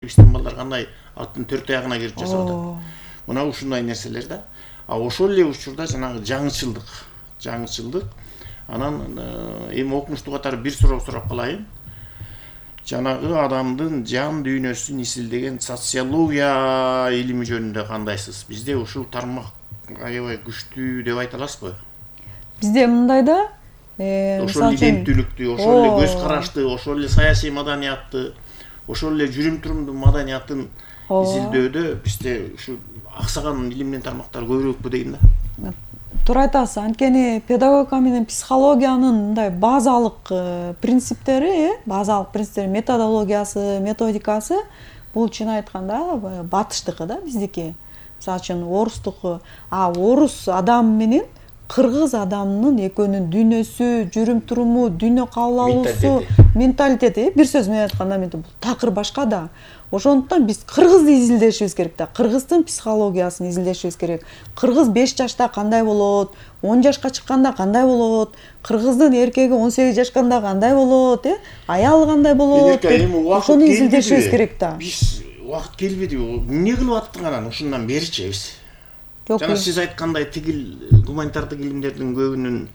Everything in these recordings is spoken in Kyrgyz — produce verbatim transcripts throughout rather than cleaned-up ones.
биздин балдар кандай аттын төрт аягына кирип жашап атат. Мына ушундай нерселер да. А ошол эле учурда жанагы жаңычылдык, жаңычылдык. Анан эми окумуштуу катары бир суроо сурап калайын. Жанагы адамдын жан дүйнөсүн изилдеген социология илими жөнүндө кандайсыз? Бизде ушул тармак аябай күчтүү деп айта аласызбы? Бизде мындай да, ошол иденттүүлүктү, ошол эле көз карашты, ошол эле саясий маданиятты, ошол эле жүрүм-турумдун маданиятын изилдөөдө бизде ушу аксаган илимдин тармактары көбүрөөкпү дейм да. Туура айтасыз. Анткени педагогика менен психологиянын мындай базалык принциптери, базалык принциптери, методологиясы, методикасы бул чын айтканда батыштыкы да, биздики. Мисалы үчүн орустуку, а орус адам менен кыргыз адамынын экөөнүн дүйнөсү, жүрүм-туруму, дүйнө кабыл алуусу, менталитети, бир сөз менен айтканда бул такыр башка да. Ошондуктан биз кыргызды изилдешибиз керек да. Кыргыздын психологиясын изилдешибиз керек. Кыргыз беш жашта кандай болот, он жашка чыкканда кандай болот, кыргыздын эркеги он сегиз жашканда кандай болот, э? Аялы кандай болот? Ошону изилдешибиз керек да. Биз убакыт келбедиби? Эмне кылып аттың анан ушундан беричи биз? Жана сиз айткандай тигил гуманитардык илимдердин көбүнүн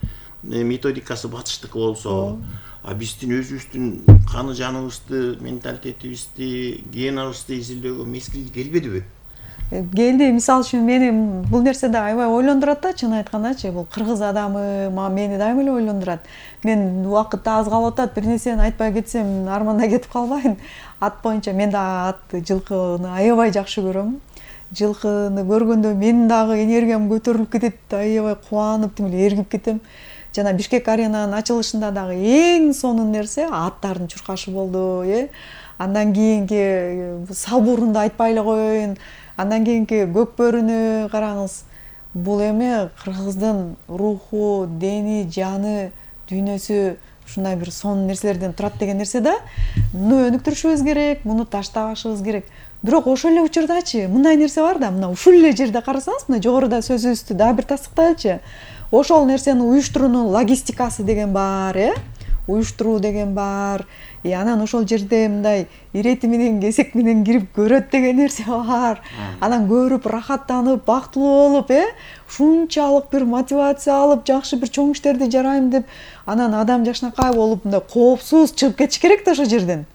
методикасы батыштыкы болсо, а биздин өзүбүздүн каны жаныбызды, менталитетибизди, генабызды изилдөөгө мезгил келбедиби? Келди. Мисалы үчүн мени бул нерсе да аябай ойлондурат да, чын айткандачы. Бул кыргыз адамы мени дайыма эле ойлондурат. Мен убакыт аз калып атат, бир нерсени айтпай кетсем арманда кетип калбайын. Ат боюнча мен да ат, жылкыны аябай жакшы көрөм. Жылкыны көргөндө менин дагы энергиям көтөрүлүп кетет, аябай кубанып, тим эле эргип кетем. Жана Бишкек аренанын ачылышында дагы эң сонун нерсе аттардын чуркашы болду, э? Андан кийинки Салбурунду айтпай эле коеюн. Андан кийинки Көкбөрүнү караңыз. Бул эми кыргыздын руху, дени, жаны, дүйнөсү ушундай бир сонун нерселерден турат деген нерсе да. Муну өнүктүрүшүбүз керек, муну таштабашыбыз керек. Бирок ошол эле учурдачы мындай нерсе бар да, мына ушул эле жерде карасаңыз, мына жогоруда сөзүбүздү дагы бир тастыктайлычы. Ошол нерсени уюштуруунун логистикасы деген бар, э? Уюштуруу деген бар. И анан ошол жерде мындай ирети менен кесек менен кирип көрөт деген нерсе бар. Анан көрүп, рахаттанып, бактылуу болуп, э? Ушунчалык бир мотивация алып, жакшы бир чоң иштерди жарайм деп, анан адам жакшынакай болуп, мындай коопсуз чыгып кетиш керек да ошол жерден.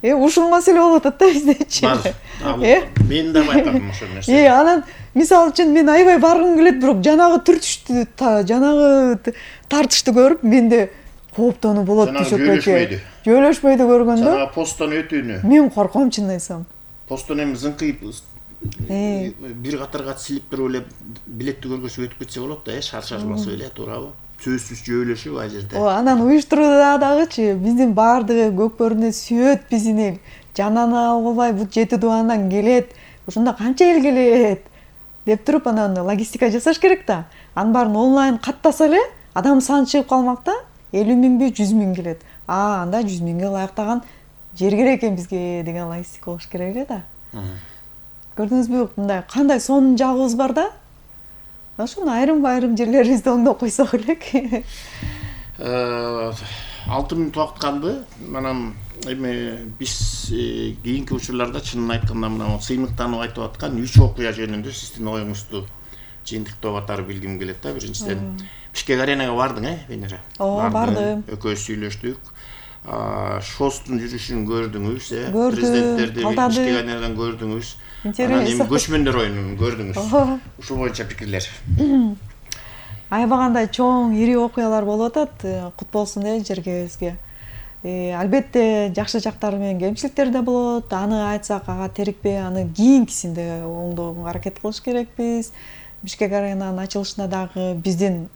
Э, ушул маселе болуп атат да биздечи. Э? Мен да байкадым ошол нерсени. Э, анан мисалы үчүн мен аябай баргым келет, бирок жанагы түртүштү, жанагы тартышты көрүп, менде кооптонуу болот жөнөшпөйдү. Жөнөшпөйдү көргөндө. Жанагы посттон өтүүнү. Мен корком чын айтсам. Посттон эми зыңкыйып бир катарга силип туруп эле билетти көргөзүп өтүп кетсе болот да, э, шаршаш басып эле, туурабы? Сөзсүз жөөлөшүп ай жерде. О, анан уюштурууда дагычы биздин баардыгы Көкбөрүнү сүйөт бизини. Жананы албай бут жети дубандан келет. Ушунда канча эл келет деп туруп анан логистика жасаш керек да. Анын баарын онлайн каттаса эле адам саны чыгып калмак да. элүү миңби, жүз миң келет. А, анда жүз миңге ылайыктаган жер керек экен бизге деген логистика болуш керек эле да. Көрдүңүзбү, мындай кандай сонун жагыбыз бар да? Ошону айрым-айрым жерлерибизде оңдоп койсок элек. алты мүнөт убакыт калды. Анан эми биз кийинки учурларда чынын айтканда мына сыймыктанып айтып аткан үч окуя жөнүндө сиздин оюңузду жыйынтыктоо катары билгим келет да. Биринчиден Бишкек аренага бардың, э, Венера? Ооба, бардым. Экөөбүз сүйлөштүк. Шостун жүрүшүн көрдүңүз, э? Көрдүм, Президенттерди Бишкек аренадан көрдүңүз. Анан эми көчмөндөр оюнун көрдүңүз. Ушул боюнча пикирлер. Аябагандай чоң, ири окуялар болуп атат. Кут болсун э жергебизге. Албетте жакшы жактары менен кемчиликтер да болот. Аны айтсак, ага терикпей, аны кийинкисинде оңдоого аракет кылыш керекпиз. Бишкек аренанын ачылышында дагы биздин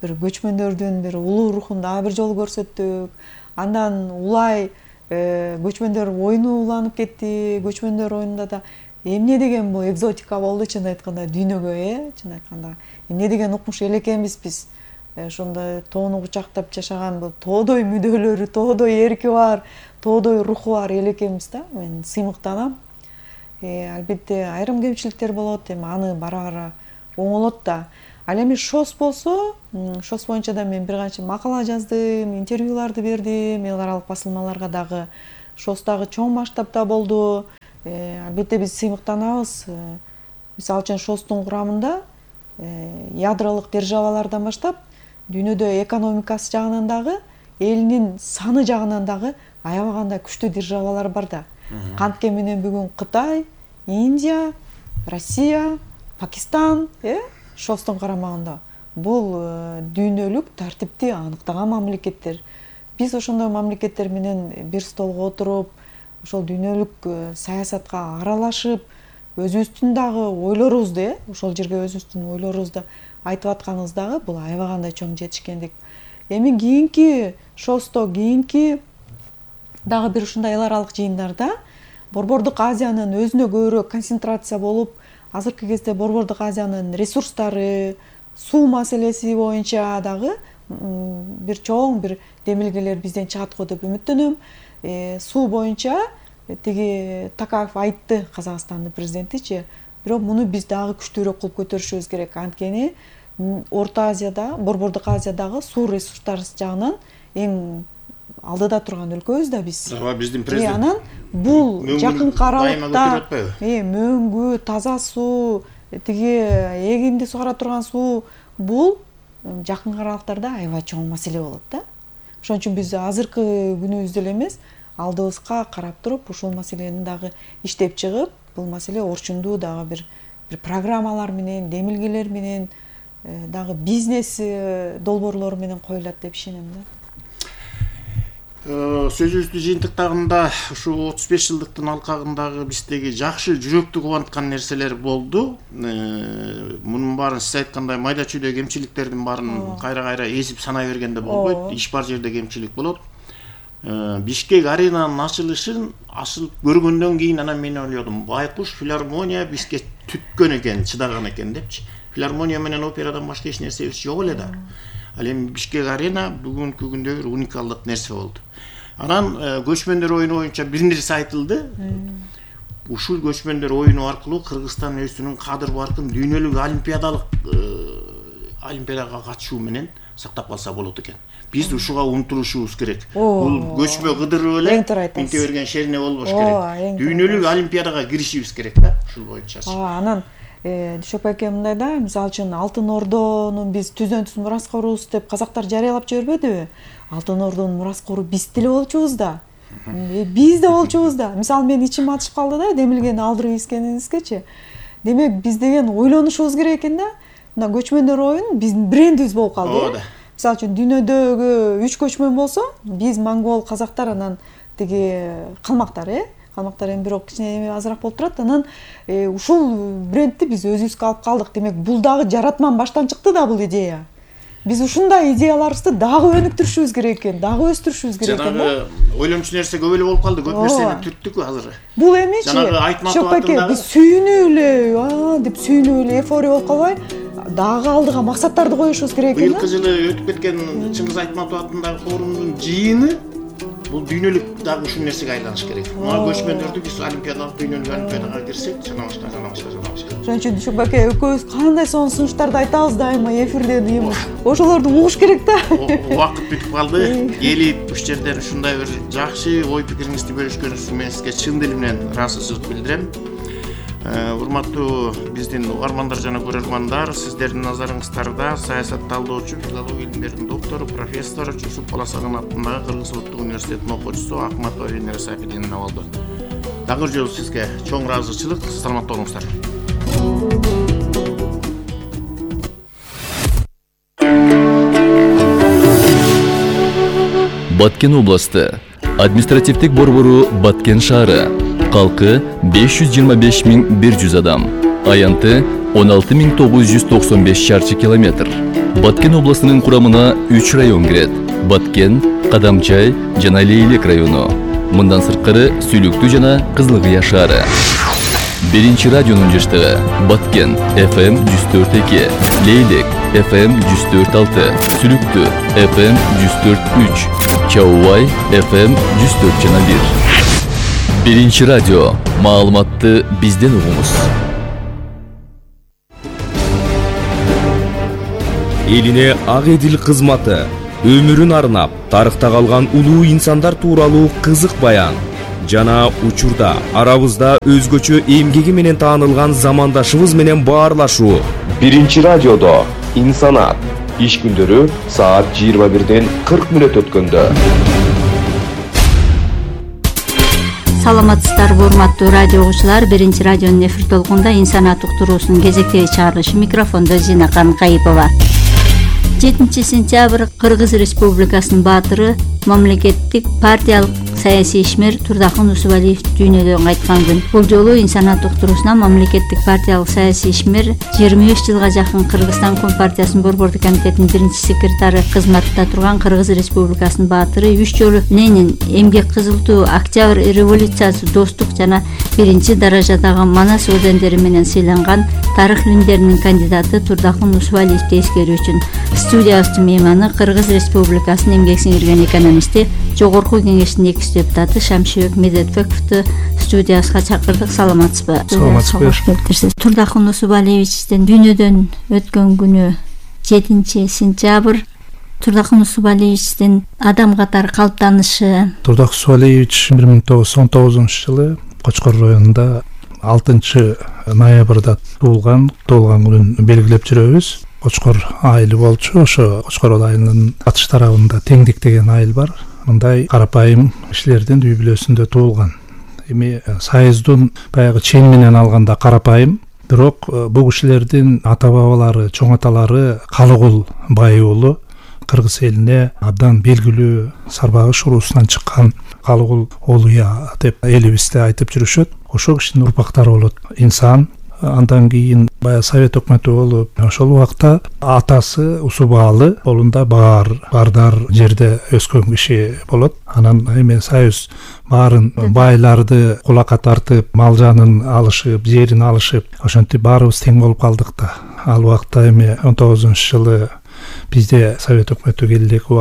бир көчмөндөрдүн бир улуу рухун дагы бир жолу көрсөттүк. Андан улай көчмөндөр оюну уланып кетти. Көчмөндөр оюнунда да эмне деген бул экзотика болду чын айтканда дүйнөгө, э, чын айтканда. Эмне деген укмуш эл экенбиз биз. Ошондой тоону кучактап жашаган бул тоодой мүдөлөрү, тоодой эрки бар, тоодой руху бар эл экенбиз да. Мен сыймыктанам. Албетте айрым кемчиликтер болот, эми аны бара-бара оңолот да. Ал эми ШОС болсо, ШОС боюнча да мен бир канча макала жаздым, интервьюларды бердим, эл аралык басылмаларга дагы. ШОС дагы чоң масштабта болду. Албетте биз сыймыктанабыз. Мисалы үчүн ШОСтун курамында ядролук державалардан баштап дүйнөдө экономикасы жагынан дагы, элинин саны жагынан дагы аябаганда күчтүү державалар бар да. Кантке менен бүгүн Кытай, Индия, Россия, Пакистан, э, ШОСтун карамагында. Бул дүйнөлүк тартипти аныктаган мамлекеттер. Биз ошондой мамлекеттер менен бир столго отуруп, ошол дүйнөлүк саясатка аралашып, өзүбүздүн дагы ойлорубузду, э, ошол жерге өзүбүздүн ойлорубузду айтып атканыбыз дагы бул аябагандай чоң жетишкендик. Эми кийинки ШОСто, кийинки дагы бир ушундай эл аралык жыйындарда Борбордук Азиянын өзүнө көбүрөөк концентрация болуп, азыркы кезде Борбордук Азиянын ресурстары, суу маселеси боюнча дагы бир чоң бир демилгелер бизден чыгат го деп үмүттөнөм. Суу боюнча тиги Такаев айтты, Казакстандын президентичи, бирок муну биз дагы күчтүүрөөк кылып көтөрүшүбүз керек. Анткени Орто Азияда, Борбордук Азиядагы суу ресурстары жагынан эң алдыда турган өлкөбүз да биз. Ооба, биздин президент. Анан бул жакынкы аралыкта мөңгү, таза суу, тиги эгинди сугара турган суу, бул жакынкы аралыктарда аябай чоң маселе болот да. Ошон үчүн биз азыркы күнүбүздө эле эмес, алдыбызга карап туруп, ушул маселени дагы иштеп чыгып, бул маселе орчундуу дагы бир бир программалар менен, демилгелер менен, дагы бизнес долбоорлору менен коюлат деп ишенем да. Сөзүбүздү жыйынтыктагында ушу отуз беш жылдыктын алкагындагы биздеги жакшы жүрөктү кубанткан нерселер болду. Мунун баарын сиз айткандай майда чүйдө кемчиликтердин баарын кайра-кайра эсип санай бергенде болбойт. Иш бар жерде кемчилик болот. Бишкек аренанын ачылышын асыл көргөндөн кийин анан мен ойлодум, байкуш филармония бизге түткөн экен, чыдаган экен депчи. Филармония менен операдан башка эч нерсебиз жок эле да. Ал эми Бишкек арена бүгүнкү күндө бир уникалдык нерсе болду. Анан көчмөндөр оюну боюнча бир нерсе айтылды. Ушул көчмөндөр оюну аркылуу Кыргызстан өзүнүн кадыр баркын дүйнөлүк олимпиадалык олимпиадага катышуу менен сактап калса болот экен. Биз ушуга умтулушубуз керек. Бул көчмө кыдырып эле инте берген шерине болбош керек. Дүйнөлүк олимпиадага киришибиз керек да, ушул боюнча. Анан Дүйшөк байке мындай да, мисалы үчүн Алтын Ордонун биз түздөн түз мураскорубуз деп казактар жарыялап жибербедиби? Алтын Ордонун мураскору биз деле болчубуз да. Биз да болчубуз да. Мисалы мен ичим атышып калды да, демилгени алдырып ийскениңизгечи. Демек биз деген ойлонушубуз керек экен да. Мына көчмөндөр оюн биздин брендибиз болуп калды. Мисалы үчүн дүйнөдөгү үч көчмөн болсо, биз монгол, казактар, анан тиги калмактар, э? Калмактар эми бирок кичине азыраак болуп турат. Анан ушул брендти биз өзүбүзгө алып калдык. Демек бул дагы жаратман баштан чыкты да бул идея. Биз ушундай идеяларыбызды дагы өнүктүрүшүбүз керек экен, дагы өстүрүшүбүз керек экен. Жанагы ойлончу нерсе көп эле болуп калды, көп нерсени түрттүк азыр. Бул эмичи? Жанагы Айтматов атындагы биз сүйүнүп эле, а деп сүйүнүп эле эйфория болуп калбай, дагы алдыга максаттарды коюшубуз керек экен. Быйылкы жылы өтүп кеткен Чыңгыз Айтматов атындагы форумдун жыйыны бул дүйнөлүк дагы ушул нерсеге айланыш керек. Мына көчмөндөрдү биз олимпиадалык дүйнөлүк олимпиадага кирсек, жана башка, жана башка, жана башка. Ошон үчүн Дүйшөк байке экөөбүз кандай сонун сунуштарды айтабыз дайыма эфирде, эми ошолорду угуш керек да. Убакыт бүтүп калды. Келип уш жерден ушундай бир жакшы ой пикириңизди бөлүшкөнүңүз үчүн мен сизге чын дилим менен ыраазычылык билдирем. Урматтуу биздин угармандар жана көрөрмандар, сиздердин назарыңыздарда саясат талдоочу, филология илимдеринин доктору, профессор Жусуп Баласагын атындагы Кыргыз Улуттук университетинин окуучусу Акматова Венера Сафидиновна болду. Дагы жолу сизге чоң ыраазычылык, саламатта болуңуздар. Баткен областы административдик борбору Баткен шаары. Калкы беш жүз жыйырма беш миң бир жүз адам. Аянты он алты миң тогуз жүз токсон беш чарчы километр. Баткен областынын курамына үч район кирет. Баткен, Кадамчай жана Лейлек району. Мындан сырткары Сүйлүктүү жана Кызылкыя шаары. Биринчи радионун жыштыгы Баткен эф эм жүз төрт эки, Лейлек эф эм жүз төрт алты, Сүйлүктүү эф эм жүз төрт үч, Чаубай эф эм жүз төрт жана бир. Биринчи радио. Маалыматты бизден угуңуз. Элине ак эдил кызматы, өмүрүн арнап, тарыхта калган улуу инсандар тууралуу кызык баян. жана учурда арабызда өзгөчө эмгеги менен таанылган замандашыбыз менен баарлашуу. Биринчи радиодо инсанат иш күндөрү саат жыйырма бирден кырк мүнөт өткөндө. Саламатсыздарбы урматтуу радио угуучулар, биринчи радионун эфир толкунда инсанат уктуруусунун кезектеги чыгарылышы, микрофондо Зинакан Кайыпова. жетинчи сентябрь Кыргыз Республикасынын баатыры, мамлекеттик партиялык саясий ишмер Турдакын Усубалиев дүйнөдөн кайткан күн. Бул жолу инсанат уктуруусуна мамлекеттик партиялык саясий ишмер жыйырма беш жылга жакын Кыргызстан Компартиясынын борбордук комитетинин биринчи секретары кызматында турган Кыргыз Республикасынын баатыры, үч жолу Ленин, эмгек кызыл туу, Октябрь революциясы, достук жана биринчи даражадагы Манас ордендери менен сыйланган тарых илимдеринин кандидаты Турдакын Усубалиевди эскерүү үчүн студиябыздын мейманы Кыргыз Республикасынын эмгек сиңирген экономисти, Жогорку кеңештин экинчи депутаты Шамшибек Медетбековду студиябызга чакырдык. Саламатсызбы? Саламатсызбы. Турдакын Усубалиевичтин дүйнөдөн өткөн күнү жетинчи сентябрь. Турдакын Усубалиевичтин адам катары калыптанышы. Турдакын Усубалиевич бир миң тогуз жүз он тогузунчу жылы Кочкор районунда алтынчы ноябрда туулган. Туулган күнүн белгилеп жүрөбүз. Кочкор айылы болчу. Ошо Кочкор айылынын батыш тарабында Теңдик деген айыл бар. Мындай карапайым кишилердин үй бүлөсүндө туулган. Эми Союздун баягы чен менен алганда карапайым, бирок бул кишилердин ата бабалары, чоң аталары Калыгул бай уулу, Кыргыз элине абдан белгилүү Сарбагыш уруусунан чыккан Калыгул Олуя деп элибизде айтып жүрүшөт. Ошол кишинин урпактары болот. Инсан андан кийин баягы Совет өкмөтү болуп, ошол убакта атасы Усубалы колунда баар, бардар жерде өскөн киши болот. Анан эми Союз баарын байларды кулакка тартып, мал жанын алышып, жерин алышып, ошентип баарыбыз тең болуп калдык да. Ал убакта эми он тогузунчу жылы бизде Совет өкмөтү келдик,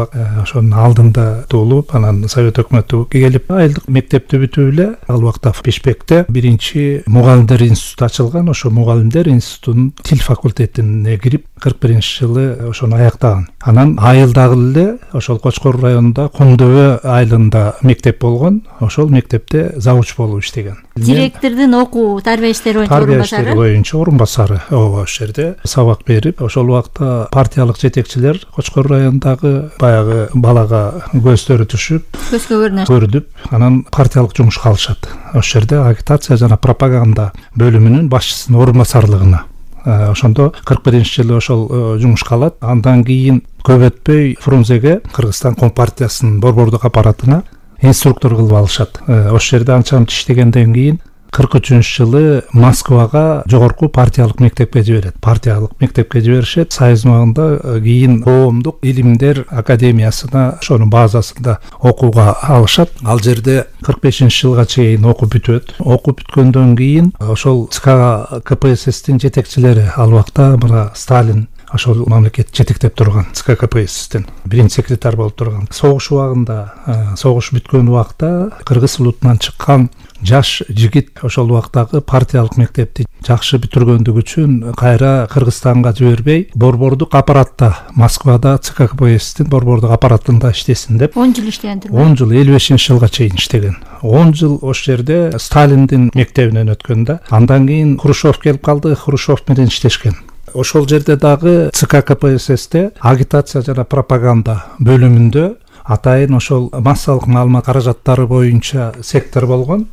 ошонун алдында туулуп, анан Совет өкмөтү келип, айылдык мектепти бүтүп эле ал убакта Бишкекте биринчи мугалимдер институту ачылган. Ошо мугалимдер институтунун тил факультетине кирип, кырк биринчи жылы ошону аяктаган. Анан айылдагы эле ошол Кочкор районунда Кумдөбө айылында мектеп болгон. Ошол мектепте завуч болуп иштеген. Директордун окуу тарбия иштери боюнча тарбия иштери боюнча орун басары. Ооба, ошол жерде сабак берип, ошол убакта партиялык жетекчилер Кочкор районундагы баягы балага көздөрү түшүп, көзгө көрүнүп, анан партиялык жумушка алышат. Ошол жерде агитация жана пропаганда бөлүмүнүн башчысынын орун басарлыгына. Ошондо кырк биринчи жылы ошол жумушка алат. Андан кийин көп өтпөй Фрунзеге, Кыргызстан Компартиясынын борбордук аппаратына инструктор кылып алышат. Ошол жерде анча-мынча иштегенден кийин кырк үчүнчү жылы Москвага жогорку партиялык мектепке жиберет. Партиялык мектепке жиберишет. Союз убагында кийин коомдук илимдер академиясына, ошонун базасында окууга алышат. Ал жерде кырк бешинчи жылга чейин окуп бүтөт. Окуп бүткөндөн кийин ошол ЦК КПССтин жетекчилери, ал убакта мына Сталин ошол мамлекет жетектеп турган ЦК КПССтин биринчи секретарь болуп турган. Согуш убагында, согуш бүткөн убакта кыргыз улутунан чыккан жаш жигит ошол убактагы партиялык мектепти жакшы бүтүргөндүгү үчүн кайра Кыргызстанга жибербей, борбордук аппаратта, Москвада ЦК КПССтин борбордук аппаратында иштесин деп он жыл иштеген. он жыл, элүү бешинчи жылга чейин иштеген. он жыл ошол жерде Сталиндин мектебинен өткөн да. Андан кийин Хрущев келип калды, Хрущев менен иштешкен. Ошол жерде дагы ЦК КПССте агитация жана пропаганда бөлүмүндө атайын ошол массалык маалымат каражаттары боюнча сектор болгон,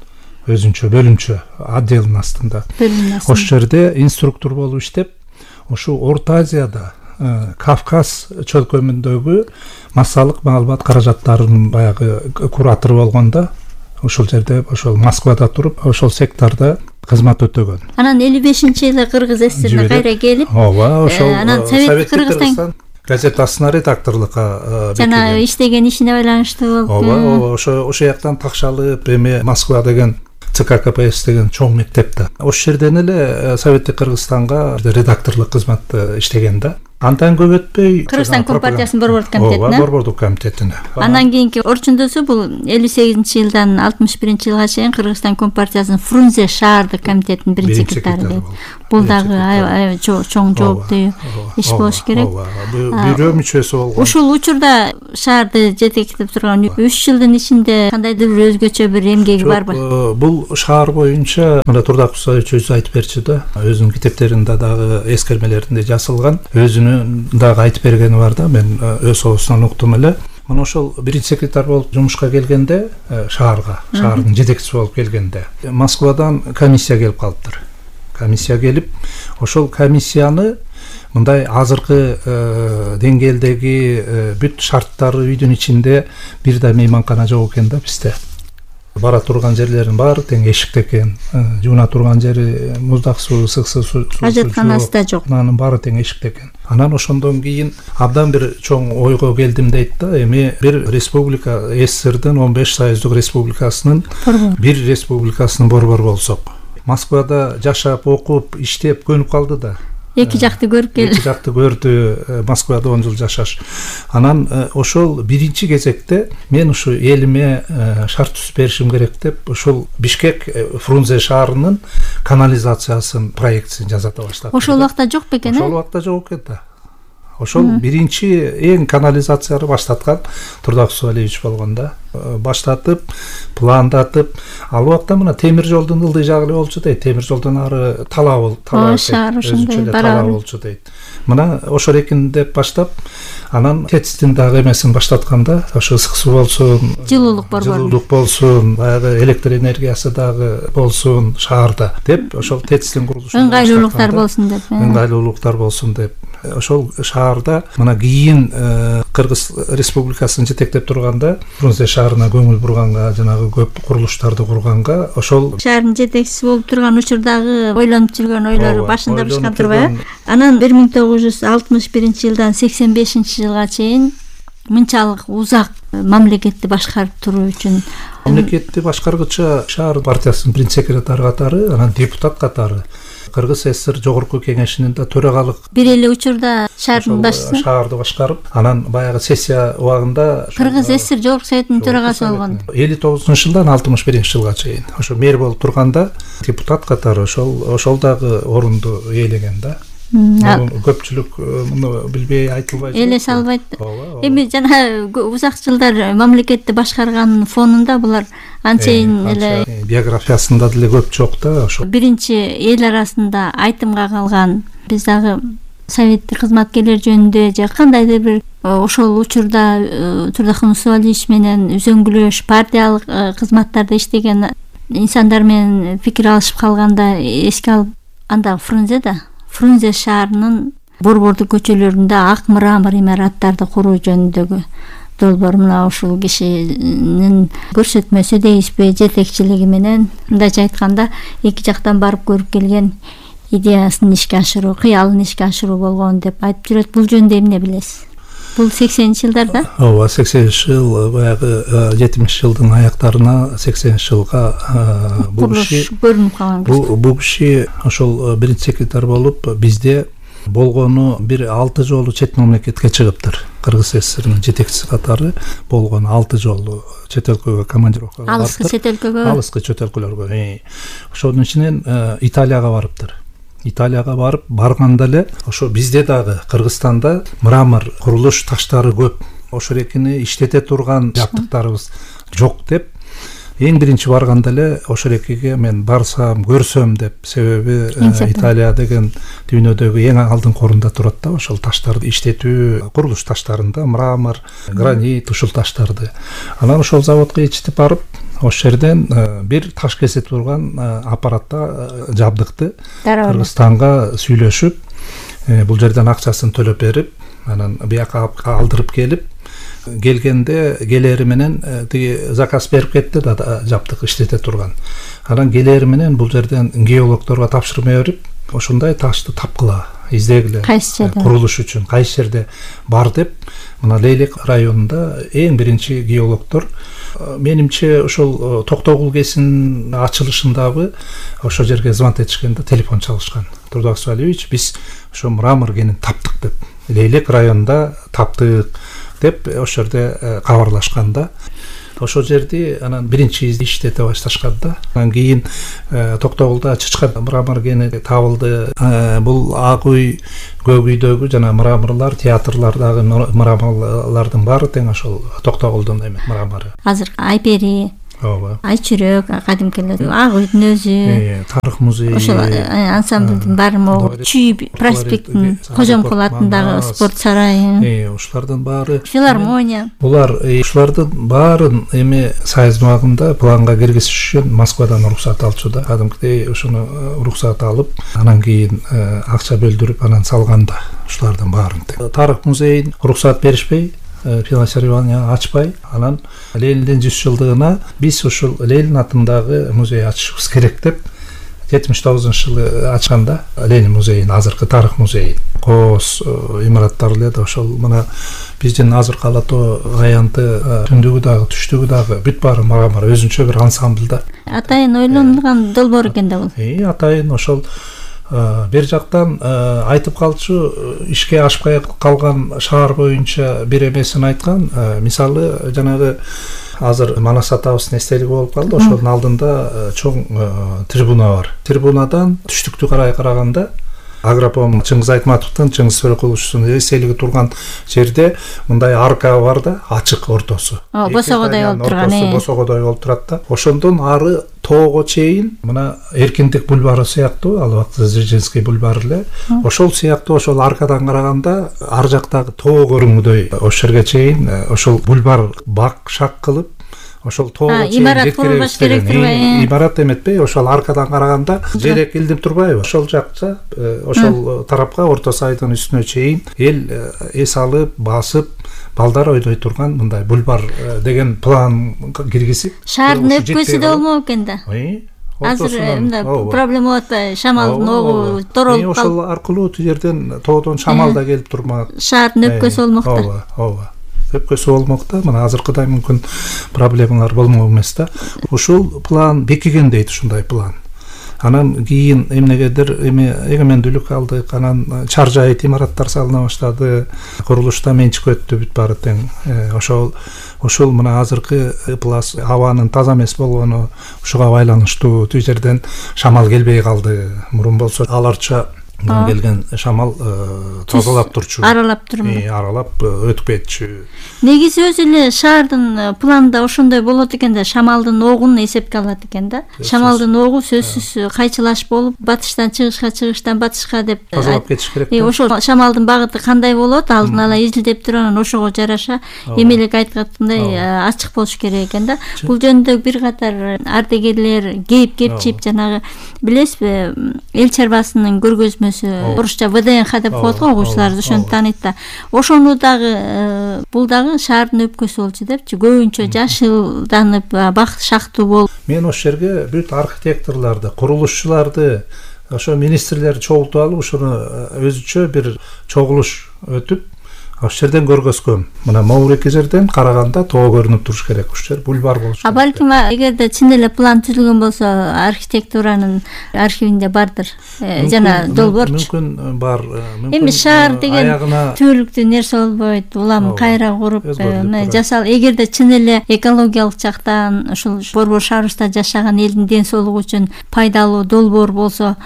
өзүнчө бөлүмчө отделдин астында. Ошол жерде инструктор болуп иштеп, ошо Орто Азияда, Кавказ чөлкөмүндөгү массалык маалымат каражаттарынын баягы куратору болгондо, ошол жерде ошол Москвада туруп, ошол сектордо кызмат өтөгөн. Анан элүү бешинчи жылы Кыргыз ССРине кайра келип, ооба, ошол Совет Кыргызстан газетасына редакторлукка жана иштеген ишине байланыштуу болуп. Ооба, ооба, ошо ошол жактан такшалып, эми Москва деген ЦК КПСС деген чоң мектепте. Ошол жерден эле Советтик Кыргызстанга редакторлук кызматты иштеген да. Андан көп өтпөй Кыргызстан Компартиясынын борбордук комитетине. Ооба, борбордук комитетине. Андан кийинки орчундосу бул элүү сегизинчи жылдан алтымыш биринчи жылга чейин Кыргызстан Компартиясынын Фрунзе шаардык комитетинин биринчи секретары. бул дагы аябай чоң жооптуу иш болуш керек. Бирөө мүчөсү болгон. Ушул учурда шаарды жетектеп турган үч жылдын ичинде кандайдыр бир өзгөчө бир эмгеги барбы? Бул шаар боюнча мына Турдак Мусаевич өзү айтып берчү да, өзүнүн китептеринде дагы эскермелеринде жазылган, өзүнүн дагы айтып бергени бар да, мен өз оозунан уктум эле. Мына ошол биринчи секретарь болуп жумушка келгенде, шаарга, шаардын жетекчиси болуп келгенде, Москвадан комиссия келип калыптыр. Комиссия келип, ошол комиссияны мындай азыркы деңгээлдеги бүт шарттары үйдүн ичинде бир да мейманкана жок экен да бизде. Бара турган жерлерин баары тең эшикте экен, жууна турган жери муздак суу, ысык суу, ажатканасы да жок. Анын баары тең эшикте экен. Анан ошондон кийин абдан бир чоң ойго келдим дейт да, эми бир республика, СССРдин он беш союздук республикасынын бир республикасынын борбору болсок. Москвада жашап, окуп, иштеп көнүп калды да. Эки жакты көрүп келди. Эки жакты көрдү, Москвада он жыл жашаш. Анан ошол биринчи кезекте мен ушу элиме шарт түзүп беришим керек деп, ошол Бишкек Фрунзе шаарынын канализациясын проектисин жасата баштады. Ошол убакта жок бекен, э? Ошол убакта жок экен да. Ошол биринчи эң канализацияны баштаткан Турдак Мусаевич болгон да. Баштатып, пландатып, ал убакта мына темир жолдун ылдый жагы эле болчу дейт. Темир жолдон ары талаа бол, талаа болчу дейт. Мына ошо эркин деп баштап, анан ТЭЦтин дагы эмесин баштатканда, ошо ысык суу болсун, жылуулук борбору, жылуулук болсун, баягы электр энергиясы дагы болсун шаарда деп, ошол ТЭЦтин курулушун ыңгайлуулуктар болсун деп, ыңгайлуулуктар болсун деп, ошол шаарда мына кийин Кыргыз Республикасын жетектеп турганда, Фрунзе шаарына көңүл бурганга, жанагы көп курулуштарды курганга, ошол шаардын жетекчиси болуп турган учурдагы ойлонуп жүргөн ойлору башында бышкан турбайбы? Анан бир миң тогуз жүз алтымыш биринчи жылдан сексен бешинчи жылга чейин мынчалык узак мамлекетти башкарып туруу үчүн мамлекетти башкаргыча шаар партиясынын биринчи секретары катары, анан депутат катары Кыргыз СССР жогорку кеңешинин да төрагалык бир эле учурда шаардын башчысы, шаарды башкарып, анан баягы сессия убагында Кыргыз СССР жогорку советинин төрагасы болгон. элүү тогузунчу жылдан алтымыш биринчи жылга чейин ошо мэр болуп турганда депутат катары ошол ошол дагы орунду ээлеген да. Көпчүлүк муну билбей айтылбайт, эле салбайт. Эми жана узак жылдар мамлекетти башкарганын фонунда булар анчейин эле биографиясында деле көп жок да. Ошо биринчи эл арасында айтымга калган, биз дагы советтик кызматкерлер жөнүндө же кандайдыр бир ошол учурда Турдак Мусаевич менен үзөңгүлөш, партиялык кызматтарда иштеген инсандар менен пикир алышып калганда эске алып, анда Фрунзеда Фрунзе шаарынын борбордук көчөлөрүндө ак мрамор имараттарды куруу жөнүндөгү долбоор мына ушул кишинин көрсөтмөсү дейсизби, жетекчилиги менен, мындайча айтканда эки жактан барып көрүп келген идеясын ишке ашыруу, кыялын ишке ашыруу болгон деп айтып жүрөт. Бул жөнүндө эмне билесиз? Бул сексенинчи жылдарда? Ооба, сексенинчи жыл, баягы жетимиш жылдын аяктарына сексенинчи жылга бул киши көрүнүп калган. Бул киши ошол биринчи секретарь болуп бизде болгону бир алты жолу чет мамлекетке чыгыптыр. Кыргыз СССРнын жетекчиси катары болгону алты жолу чет өлкөгө командировкага барыптыр. Алыскы чет өлкөгө? Алыскы чет өлкөлөргө. Ошонун ичинен Италияга барыптыр. Италияга барып барганда эле ошо бизде дагы Кыргызстанда мрамор курулуш таштары көп. Ошо эркини иштете турган жабдыктарыбыз жок деп эң биринчи барганда эле ошо эркиге мен барсам, көрсөм деп, себеби Италия деген дүйнөдөгү эң алдыңкы орунда турат да, ошол таштарды иштетүү, курулуш таштарында мрамор, гранит, ушул таштарды. Анан ошол заводко ичтип барып, ошол жерден бир таш кесе турган аппаратта жабдыкты Кыргызстанга сүйлөшүп, бул жерден акчасын төлөп берип, анан бияка алдырып келип, келгенде келери менен тиги заказ берип кетти да, жабдык иштете турган. Анан келери менен бул жерден геологторго тапшырма берип, ошондой ташты тапкыла, издегиле, курулуш үчүн кайсы жерде бар деп, мына Лейлек районунда эң биринчи геологтор, менимче ошол Токтогул кесинин ачылышындагы ошол жерге звонок этишкенде телефон чалышкан. Турдак Мусаевич, биз ошо мрамор кенин таптык деп, Лейлек районунда таптык деп ошол жерде кабарлашканда, ошол жерди анан биринчи иштете башташкан да. Анан кийин Токтогулда Чычкан мрамор кени табылды. Бул Ак үй, Көк үйдөгү жана мраморлар, театрлардагы мраморлардын баары тең ошол Токтогулдун эме мрамору. Азыр Айпери, ооба, Айчүрөк, кадимкилер, Ак үйдүн өзү, тарых музейи, ошол ансамблдин баары могу Чүй проспекттин Кожомкул атындагы спорт сарайы, ушулардын баары, филармония. Булар ушулардын баарын эми Союз убагында планга киргизиш үчүн Москвадан уруксат алчу да. Кадимкидей ошону уруксат алып, анан кийин акча бөлдүрүп анан салганда ушулардын баарын. Тарых музейин уруксат беришпей, финансирование ачпай, анан Лениндин жүз жылдыгына биз ушул Ленин атындагы музей ачышыбыз керек деп жетимиш тогузунчу жылы ачканда Ленин музейин, азыркы тарых музейин, кооз имараттар эле да ошол мына биздин азыркы Ала Тоо аянты түндүгү дагы түштүгү дагы бүт баары мрамор өзүнчө бир ансамбль да. Атайын ойлонулган долбоор экен да бул. Э, атайын ошол бир жактан айтып калчу, ишке ашпай калган шаар боюнча бир эмесин айткан. Мисалы жанагы азыр Манас атабыздын эстелиги болуп калды. Ошонун алдында чоң трибуна бар. Трибунадан түштүктү карай караганда Агропром Чыңгыз Айтматовдун, Чыңгыз Төрөкуловчунун эстелиги турган жерде мындай арка бар да, ачык ортосу. Босогодой болуп турган, э. Босогодой болуп турат да. Ошондон ары тоого чейин мына Эркиндик бульвары сыяктуу, ал убакта Дзержинский бульвары эле. Ошол сыяктуу ошол аркадан караганда ар жактагы тоо көрүнгүдөй ошол жерге чейин ошол бульвар бак шак кылып, ошол тоого чейин имарат курулбаш керек турбайбы? Имарат эметпей, ошол аркадан караганда желек илдип турбайбы? Ошол жакта, ошол тарапка Орто Сайдын үстүнө чейин эл эс алып, басып, балдар ойдой турган мындай бульвар деген план киргизип, шаардын өпкөсү да болмок экен да. Азыр мындай проблема болуп атпайбы? Шамалдын огу торолуп калып, ошол аркылуу ту жерден тоодон шамал да келип турмак. Шаардын өпкөсү болмок да. Ооба, ооба. Өпкөсү болмок да. Мына азыркыдай мүмкүн проблемалар болмок эмес да. Ушул план бекиген дейт, ушундай план. Анан кийин эмнегедир эми эгемендүүлүк алдык, анан чар жайыт имараттар салына баштады, курулушта менчик өттү, бүт баары тең. Ошол ошол мына азыркы плас абанын таза эмес болгону ушуга байланыштуу. Түү жерден шамал келбей калды. Мурун болсо аларча келген шамал тазалап турчу, аралап турму? Аралап өтүп кетчү. Негизи өзү эле шаардын планында ошондой болот экен да, шамалдын огун эсепке алат экен да. Шамалдын огу сөзсүз кайчылаш болуп, батыштан чыгышка, чыгыштан батышка деп тазалап кетиш керек. Ошол шамалдын багыты кандай болот, алдын ала изилдеп туруп, анан ошого жараша эмелек айткандай ачык болуш керек экен да. Бул жөнүндө бир катар ардегерлер кейип кепчип, жанагы билесизби, эл чарбасынын көргөзмөсү, орусча вэ дэ эн ха деп коет го, окуучулар ошону тааныйт да. Ошону дагы бул дагы шаардын өпкөсү болчу депчи, көбүнчө жашылданып, бак шактуу болуп. Мен ошол жерге бүт архитекторлорду, курулушчуларды, ошо министрлерди чогултуп алып, ошону өзүчө бир чогулуш өтүп, ошол жерден көргөзгөм. Мына могуреки жерден караганда тоо көрүнүп туруш керек, ушул жер бульвар болуш керек. А балким эгерде чын эле план түзүлгөн болсо, архитектуранын архивинде бардыр. Жана долбоорчу. Мүмкүн бар. Эми шаар деген түбөлүктүү нерсе болбойт. Улам кайра куруп, жасал. Эгерде чын эле экологиялык жактан ушул Борбор шаарыбызда жашаган элдин ден соолугу үчүн пайдалуу долбоор болсо,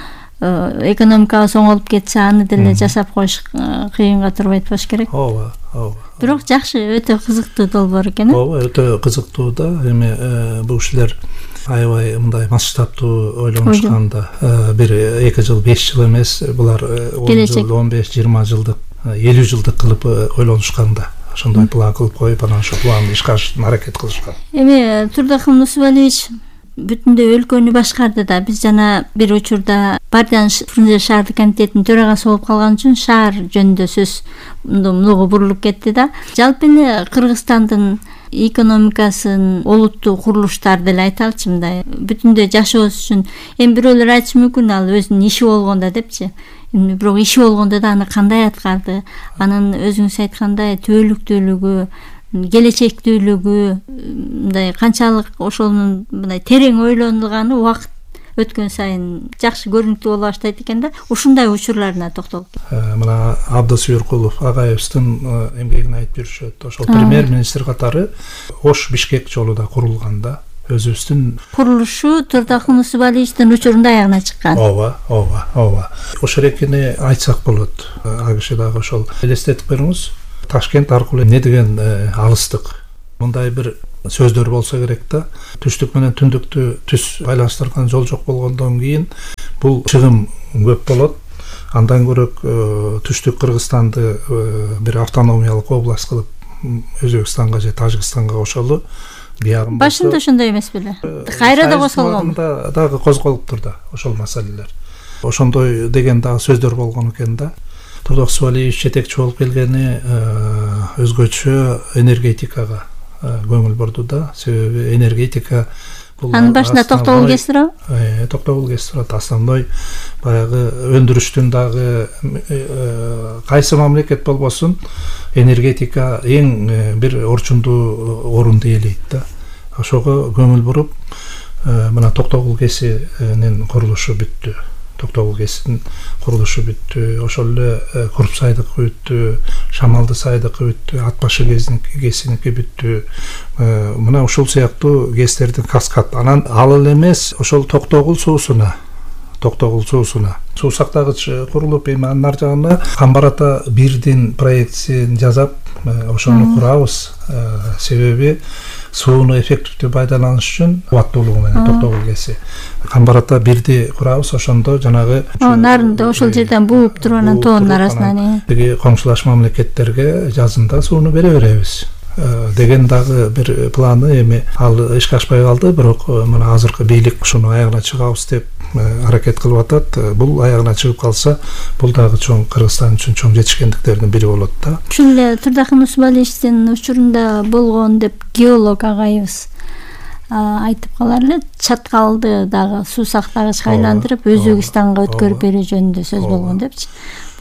экономикабыз оңолуп кетсе, аны деле жасап коюш кыйынга турбайт болуш керек. Ооба, ооба. Бирок жакшы, өтө кызыктуу долбоор экен. Ооба, өтө кызыктуу да. Эми бул кишилер аябай мындай масштабтуу ойлонушкан да. Бир эки жыл, беш жыл эмес, булар он жыл, он беш, жыйырма жылдык, элүү жылдык кылып ойлонушкан да. Ошондой план кылып коюп, анан ошол планды ишке ашырууга аракет кылышкан. Эми Турдахун Нусубалиевич бүтүндөй өлкөнү башкарды да. Биз жана бир учурда партиянын Фрунзе шаардык комитетинин төрагасы болуп калган үчүн шаар жөнүндө сөз мынуга бурулуп кетти да. Жалпы эле Кыргызстандын экономикасын олуттуу курулуштар деле айталычы, мындай бүтүндөй жашообуз үчүн. Эми бирөөлөр айтышы мүмкүн, ал өзүнүн иши болгондо депчи. Бирок иши болгондо да аны кандай аткарды, анын өзүңүз айткандай түбөлүктүүлүгү, келечектүүлүгү, мындай канчалык ошонун мындай терең ойлонулганы убакыт өткөн сайын жакшы көрүнүктүү боло баштайт экен да. Ушундай учурларына токтолуп мына Абдыс Юркулов агайыбыздын эмгегин айтып жүрүшөт. Ошол премьер-министр катары Ош Бишкек жолу да курулган да. Өзүбүздүн курулушу Турдахун Усубалиевичтин учурунда аягына чыккан. Ооба, ооба, ооба. Ошол экени айтсак болот. А киши дагы ошол элестетип бериңиз. Ташкент аркылуу эмне деген алыстык. Мындай бир сөздөр болсо керек да. Түштүк менен түндүктү түз байланыштырган жол жок болгондон кийин бул чыгым көп болот. Андан көрөк түштүк Кыргызстанды бир автономиялык область кылып Өзбекстанга же Тажикстанга кошолу. Башында ошондой эмес беле? Кайра да козголгон. Дагы козголуптур да ошол маселелер. Ошондой деген дагы сөздөр болгон экен да. Турдах Усубалиевич жетекчи болуп келгени өзгөчө энергетикага көңүл бурду да. Себеби энергетика бул анын башында токтогул КС турабы? Э, токтогул КС турат. Основной баягы өндүрүштүн дагы кайсы мамлекет болбосун энергетика эң бир орчундуу орунду ээлейт да. Ошого көңүл буруп, мына токтогул КСнин курулушу бүттү. Токтогул КСнин курулушу бүттү. Ошол эле Курпсайдык бүттү, Шамалды сайдык бүттү, Атбашы КСники бүттү. Мына ушул сыяктуу КСтердин каскад. Анан ал эле эмес, ошол токтогул суусуна токтогул суусуна суу сактагыч курулуп, эми анын ар жагына Камбар ата бирдин проектисин жасап, ошону курабыз. Себеби сууну эффективдүү пайдаланыш үчүн кубаттуулугу менен токтогул КСи. Камбар ата бирди курабыз, ошондо жанагы нарында ошол жерден бууп туруп анан тоонун арасынан тиги коңшулаш мамлекеттерге жазында сууну бере беребиз деген дагы бир планы эми ал ишке ашпай калды, бирок мына азыркы бийлик ушуну аягына чыгабыз деп аракет кылып атат. Бул аягына чыгып калса, бул дагы чоң Кыргызстан үчүн чоң жетишкендиктердин бири болот да. Ушул эле Турдахун Усубалиевичтин учурунда болгон деп геолог агайыбыз айтып калар эле. Чаткалды дагы суу сактагычка айландырып Өзбекстанга өткөрүп берүү жөнүндө сөз болгон депчи.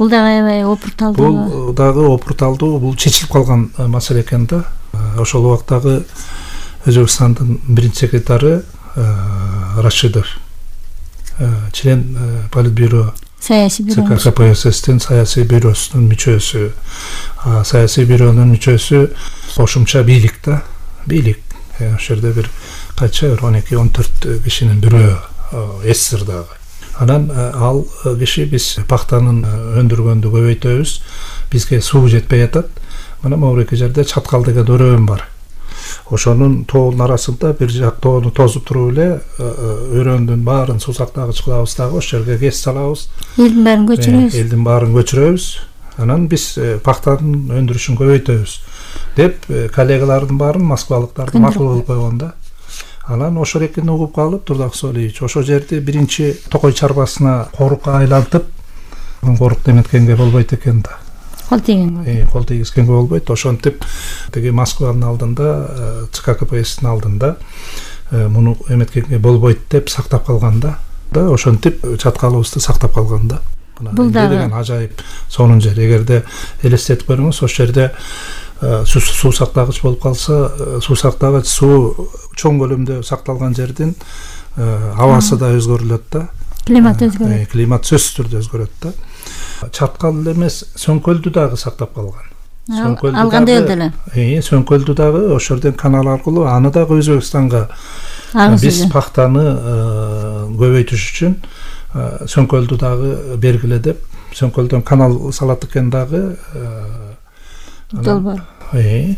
Бул дагы аябай опурталдуу. Бул дагы опурталдуу, бул чечилип калган маселе экен да. Ошол убактагы Өзбекстандын биринчи секретары Рашидов, член Политбюро саясий бюро КПССтин саясий бюросунун мүчөсү. Саясий бюронун мүчөсү кошумча бийлик да, бийлик. Ошол жерде бир кача он эки он төрт кишинин бирөө эсир дагы. Анан ал киши биз пахтанын өндүргөндү көбөйтөбүз, бизге суу жетпей атат. Мына могу эки жерде Чаткал деген өрөөн бар. Ошонун тоонун арасында бир жак тоону тозуп туруп эле өрөөндүн баарын суу сактагыч кылабыз дагы, ошол жерге КС салабыз. Элдин баарын көчүрөбүз. Элдин баарын көчүрөбүз. Анан биз пахтанын өндүрүшүн көбөйтөбүз деп коллегалардын баарын москвалыктарды макул кылып койгон да. Анан ошол экени угуп калып Турдах Усубалиевич ошол жерди биринчи Токой чарбасына корукка айлантып, корук деметкенге болбойт экен да. Кол тийгенге. Э, кол тийгизгенге болбойт. Ошентип тиги Москванын алдында, ЦК КПСстин алдында муну эметкенге болбойт деп сактап калган да. Да, ошентип чаткалыбызды сактап калган да. Бул дагы ажайып сонун жер. Эгерде элестетип көрүңүз, ошол жерде суу сактагыч болуп калса, суу сактагыч суу чоң көлөмдө сакталган жердин абасы да өзгөрүлөт да. Климат өзгөрөт. Климат сөзсүз түрдө өзгөрөт да. Чаткал эмес, Сөңкөлдү дагы сактап калган. Алганда эле. Э, Сөңкөлдү дагы ошол жерден канал аркылуу аны дагы Өзбекстанга биз пахтаны көбөйтүш үчүн Сөңкөлдү дагы бергиле деп, Сөңкөлдөн канал салат экен дагы. Долбоор. Э,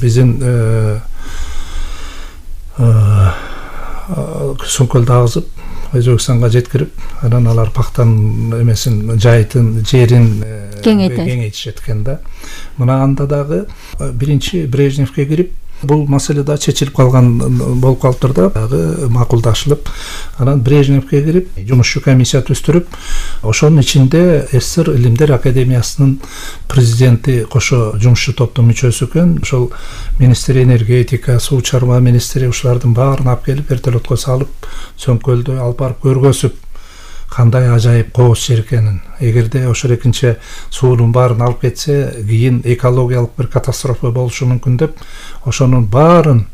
биздин Сөңкөлдү агызып Өзбекстанга жеткирип, анан алар пахтанын эмесин, жайытын, жерин кеңейтишет экен да. Мына анда дагы биринчи Брежневке кирип, бул маселе да чечилип калган болуп калыптыр да, дагы макулдашылып, анан Брежневке кирип, жумушчу комиссия түзүп, ошонун ичинде СССР Илимдер академиясынын президенти кошо жумушчу топтун мүчөсү экен. Ошол министри энергетика, суу чарба министри ушулардын баарын алып келип вертолетко салып, Сөңкөлдү алып барып көргөзүп, кандай ажайып кооз жер экенин. Эгерде ошол экинчи суунун баарын алып кетсе, кийин экологиялык бир катастрофа болушу мүмкүн деп, ошонун баарын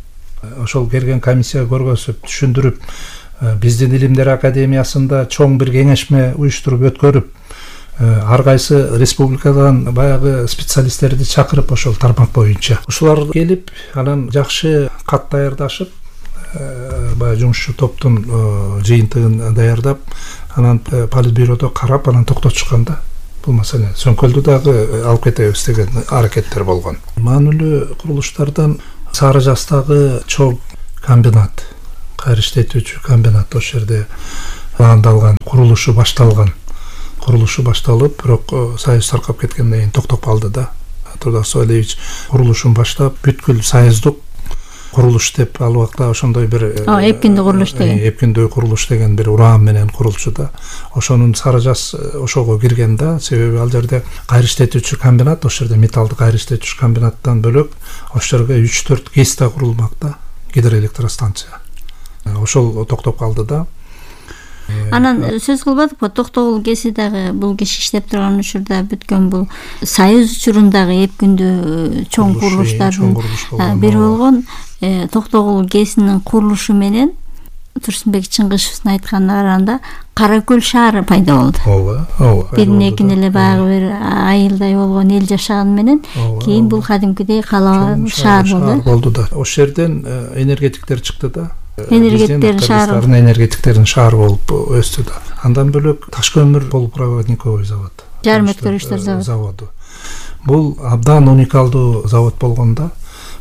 ошол келген комиссия көргөзүп, түшүндүрүп, биздин Илимдер академиясында чоң бир кеңешме уюштуруп өткөрүп, ар кайсы республикадан баягы специалисттерди чакырып ошол тармак боюнча ушулар келип, анан жакшы кат даярдашып, баягы жумушчу топтун жыйынтыгын даярдап, анан политбюродо карап, анан токтотушканда бул маселе сөңкөлдү дагы алып кетебиз деген аракеттер болгон. Маанилүү курулуштардан Сары Жастагы чоң комбинат, кайра иштетүүчү комбинат ошол жерде андалган, курулушу башталган. Курулушу башталып, бирок союз таркап кеткенден кийин токтоп калды да. Турдак Соолевич курулушун баштап, бүткүл союздук курулуш деп ал убакта ошондой бир эпкиндүү курулуш деген. Эпкиндүү курулуш деген бир ураан менен курулчу да. Ошонун Сары Жас ошого кирген да, себеби ал жерде кайра иштетүүчү комбинат, ошол жерде металлды кайра иштетүүчү комбинаттан бөлөк ошол жерге үч төрт ГЭС да курулмак да, гидроэлектростанция. Ошол токтоп калды да. Анан сөз кылбадыкпы, Токтогул ГЭСи дагы бул киши иштеп турган учурда бүткөн бул союз учурундагы эпкиндүү чоң курулуштардын бири болгон Токтогул ГЭСинин курулушу менен Турсунбек Чыңгышевдин айтканына караганда Кара-Көл шаары пайда болду. Ооба, ооба. Бирин экин эле баягы бир айылдай болгон эл жашаган менен кийин бул кадимкидей кала шаар болду. Болду да. Ошол жерден энергетиктер чыкты да. Энергетиктердин шаары. Энергетиктердин шаары болуп өстү да. Андан бөлөк таш көмүр полупроводниковый завод. Жарым өткөргүчтөр заводу. Бул абдан уникалдуу завод болгонда,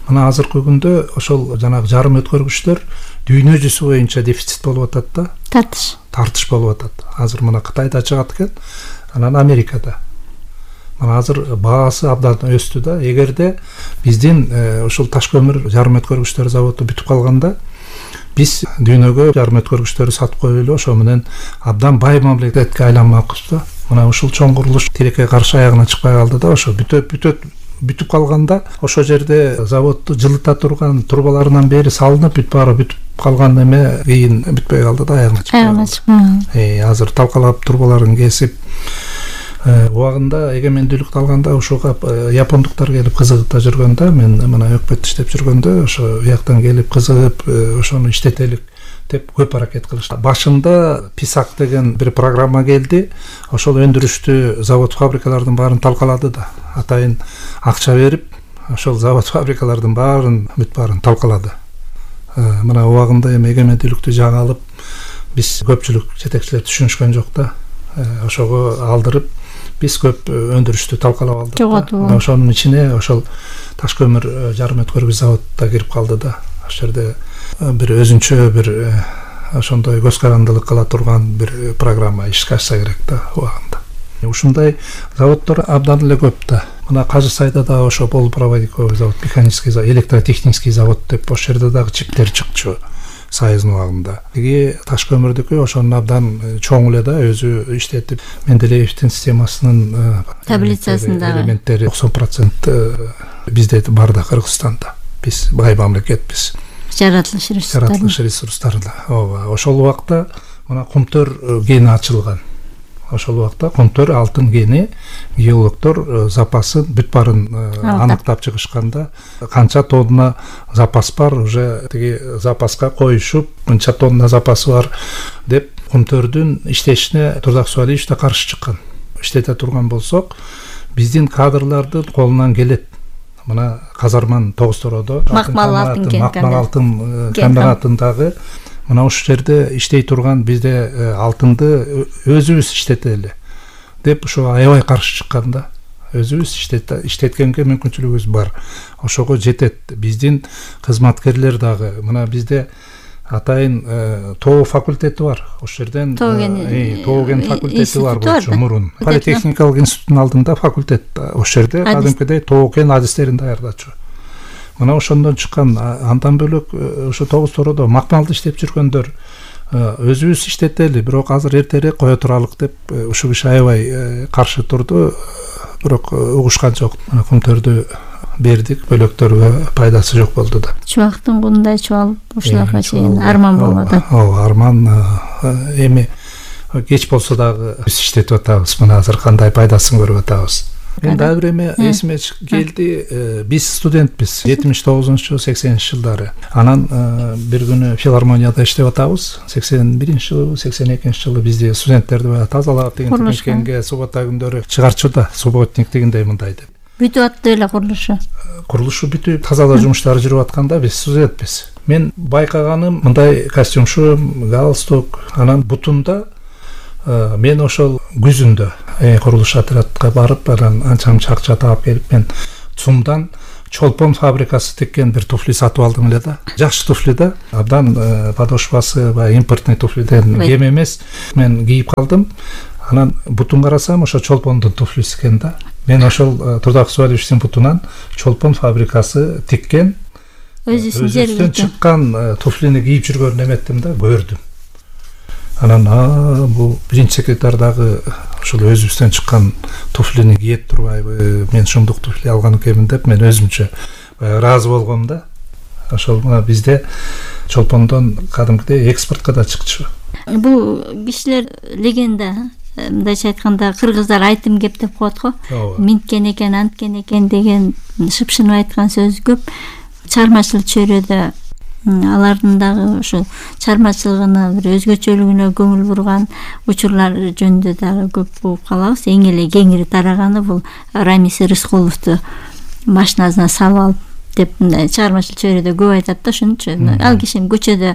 мына азыркы күндө ошол жанагы жарым өткөргүчтөр дүйнө жүзү боюнча дефицит болуп атат да. Тартыш. Тартыш болуп атат. Азыр мына Кытайда чыгат экен, анан Америкада. Мына азыр баасы абдан өстү да. Эгерде биздин ошол таш көмүр жарым өткөргүчтөр заводу бүтүп калганда, биз дүйнөгө жарым өткөргүчтөрдү сатып коюп эле ошо менен абдан бай мамлекетке айланмакпыз да. Мына ушул чоң курулуш тилекке каршы аягына чыкпай калды да. Ошо бүтөп бүтөп бүтүп калганда, ошол жерде заводду жылыта турган трубаларынан бери салынып, бүт баары бүтүп калган эме кийин бүтпөй калды да, аягына чыкпай. Аягына чыкпай. Э, азыр талкалап трубаларын кесип, убагында эгемендүүлүктү алганда ошого япондуктар келип кызыгып да жүргөндө, мен мына өкмөттө иштеп жүргөндө ошо уяктан келип кызыгып, ошону иштетелик деп көп аракет кылышты. Башында Писак деген бир программа келди. Ошол өндүрүштүү завод фабрикалардын баарын талкалады да. Атайын акча берип, ошол завод фабрикалардын баарын бүт баарын талкалады. Мына убагында эми эгемендүүлүктү жаңы алып, биз көпчүлүк жетекчилер түшүнүшкөн жок да. Ошого алдырып биз көп өндүрүштү талкалап алдык. Ошонун ичине ошол таш көмүр жарым өткөргүч завод да кирип калды да. Ошол жерде бир өзүнчө бир ошондой көз карандылык кыла турган бир программа ишке ашса керек да убагында. Ушундай заводдор абдан эле көп да. Мына Кажы Сайда да ошо полупроводниковый завод, механический завод, электротехнический завод деп ошол жерде дагы чиптер чыкчу союздун убагында. Эги таш көмүрдүкү ошонун абдан чоң эле да, өзү иштетип, Менделеевдин системасынын таблицасында элементтери токсон процент бизде бар да, Кыргызстанда. Биз бай мамлекетпиз. Жаратылыш ресурстары. Жаратылыш ресурстарында. Ооба, ошол убакта мына Кумтөр кени ачылган. Ошол убакта Кумтөр алтын кени геологдор запасын бүт баарын аныктап чыгышканда, канча тонна запас бар, уже тиги запаска коюшуп, мынча тонна запасы бар деп Кумтөрдүн иштешине Турдак Соолевич да каршы чыккан. Иштете турган болсок, биздин кадрлардын колунан келет. Мына Казарман тогуз тородо Макмал алтын комбинатындагы мына ушул жерде иштей турган бизде алтынды өзүбүз иштетели деп ошо аябай каршы чыккан да. Өзүбүз иштеткенге мүмкүнчүлүгүбүз бар. Ошого жетет. Биздин кызматкерлер дагы мына бизде атайын тоо факультети бар. Ошол жерден тооген факультети бар болчу мурун. Политехникалык институттун алдында факультет. Ошол жерде кадимкидей тооген адистерин даярдачу. Мына ошондон чыккан, андан бөлөк ошо тогуз тородо макмалды иштеп жүргөндөр өзүбүз иштетели, бирок азыр эртерээк кое туралык деп ушул киши аябай каршы турду, бирок угушкан жок. Мына Кумтөрдү бердик, бөлөктөргө пайдасы жок болду да. Чубактын кундай чубалып ушуларга чейин арман болуп атат. Ооба, арман эми кеч болсо дагы биз иштетип атабыз. Мына азыр кандай пайдасын көрүп атабыз. Мен дагы бир эме эсиме келди. Биз студентпиз жетимиш тогузунчу сексенинчи жылдары. Анан бир күнү филармонияда иштеп атабыз. сексен биринчи жылы, сексен экинчи жылы бизде студенттерди баягы тазалап деген мекенге суббота күндөрү чыгарчуда, субботник дегендей мындай деп. Бүтүп атты эле курулушу. Курулушу бүтүп, тазалоо жумуштары жүрүп атканда биз студентпиз. Мен байкаганым мындай костюмшу, галстук, анан бутунда мен ошол күзүндө курулуш отрядка барып, анан анча-мынча акча таап келип, мен ЦУМдан чолпон фабрикасы тиккен бир туфли сатып алдым эле да. Жакшы туфли да. Абдан подошвасы баягы импортный туфлиден кем эмес. Мен кийип калдым. Анан бутун карасам, ошо чолпондун туфлиси экен да. Мен ошол Турдак Суалевичтин бутунан чолпон фабрикасы тиккен өзүбүздөн чыккан туфлини кийип жүргөнүн эметтим да, көрдүм. Анан а бул биринчи секретарь дагы ошол өзүбүздөн чыккан туфлини кийет турбайбы, мен ушундук туфли алган экенмин деп мен өзүмчө ыраазы болгом да. Ошол бизде чолпондон кадимкидей экспортко да чыкчу. Бул кишилер легенда, мындайча айтканда кыргыздар айтым кеп деп коет го. Минткен экен, анткен экен деген шыпшынып айткан сөз көп. Чармачылык чөйрөдө алардын дагы ошо чармачылыгына бир өзгөчөлүгүнө көңүл бурган учурлар жөнүндө дагы көп угуп калабыз. Эң эле кеңири тараганы бул Рамис Рыскуловду машинасына салып алып деп чармачылык чөйрөдө көп айтат да, ошончу. Ал кишини көчөдө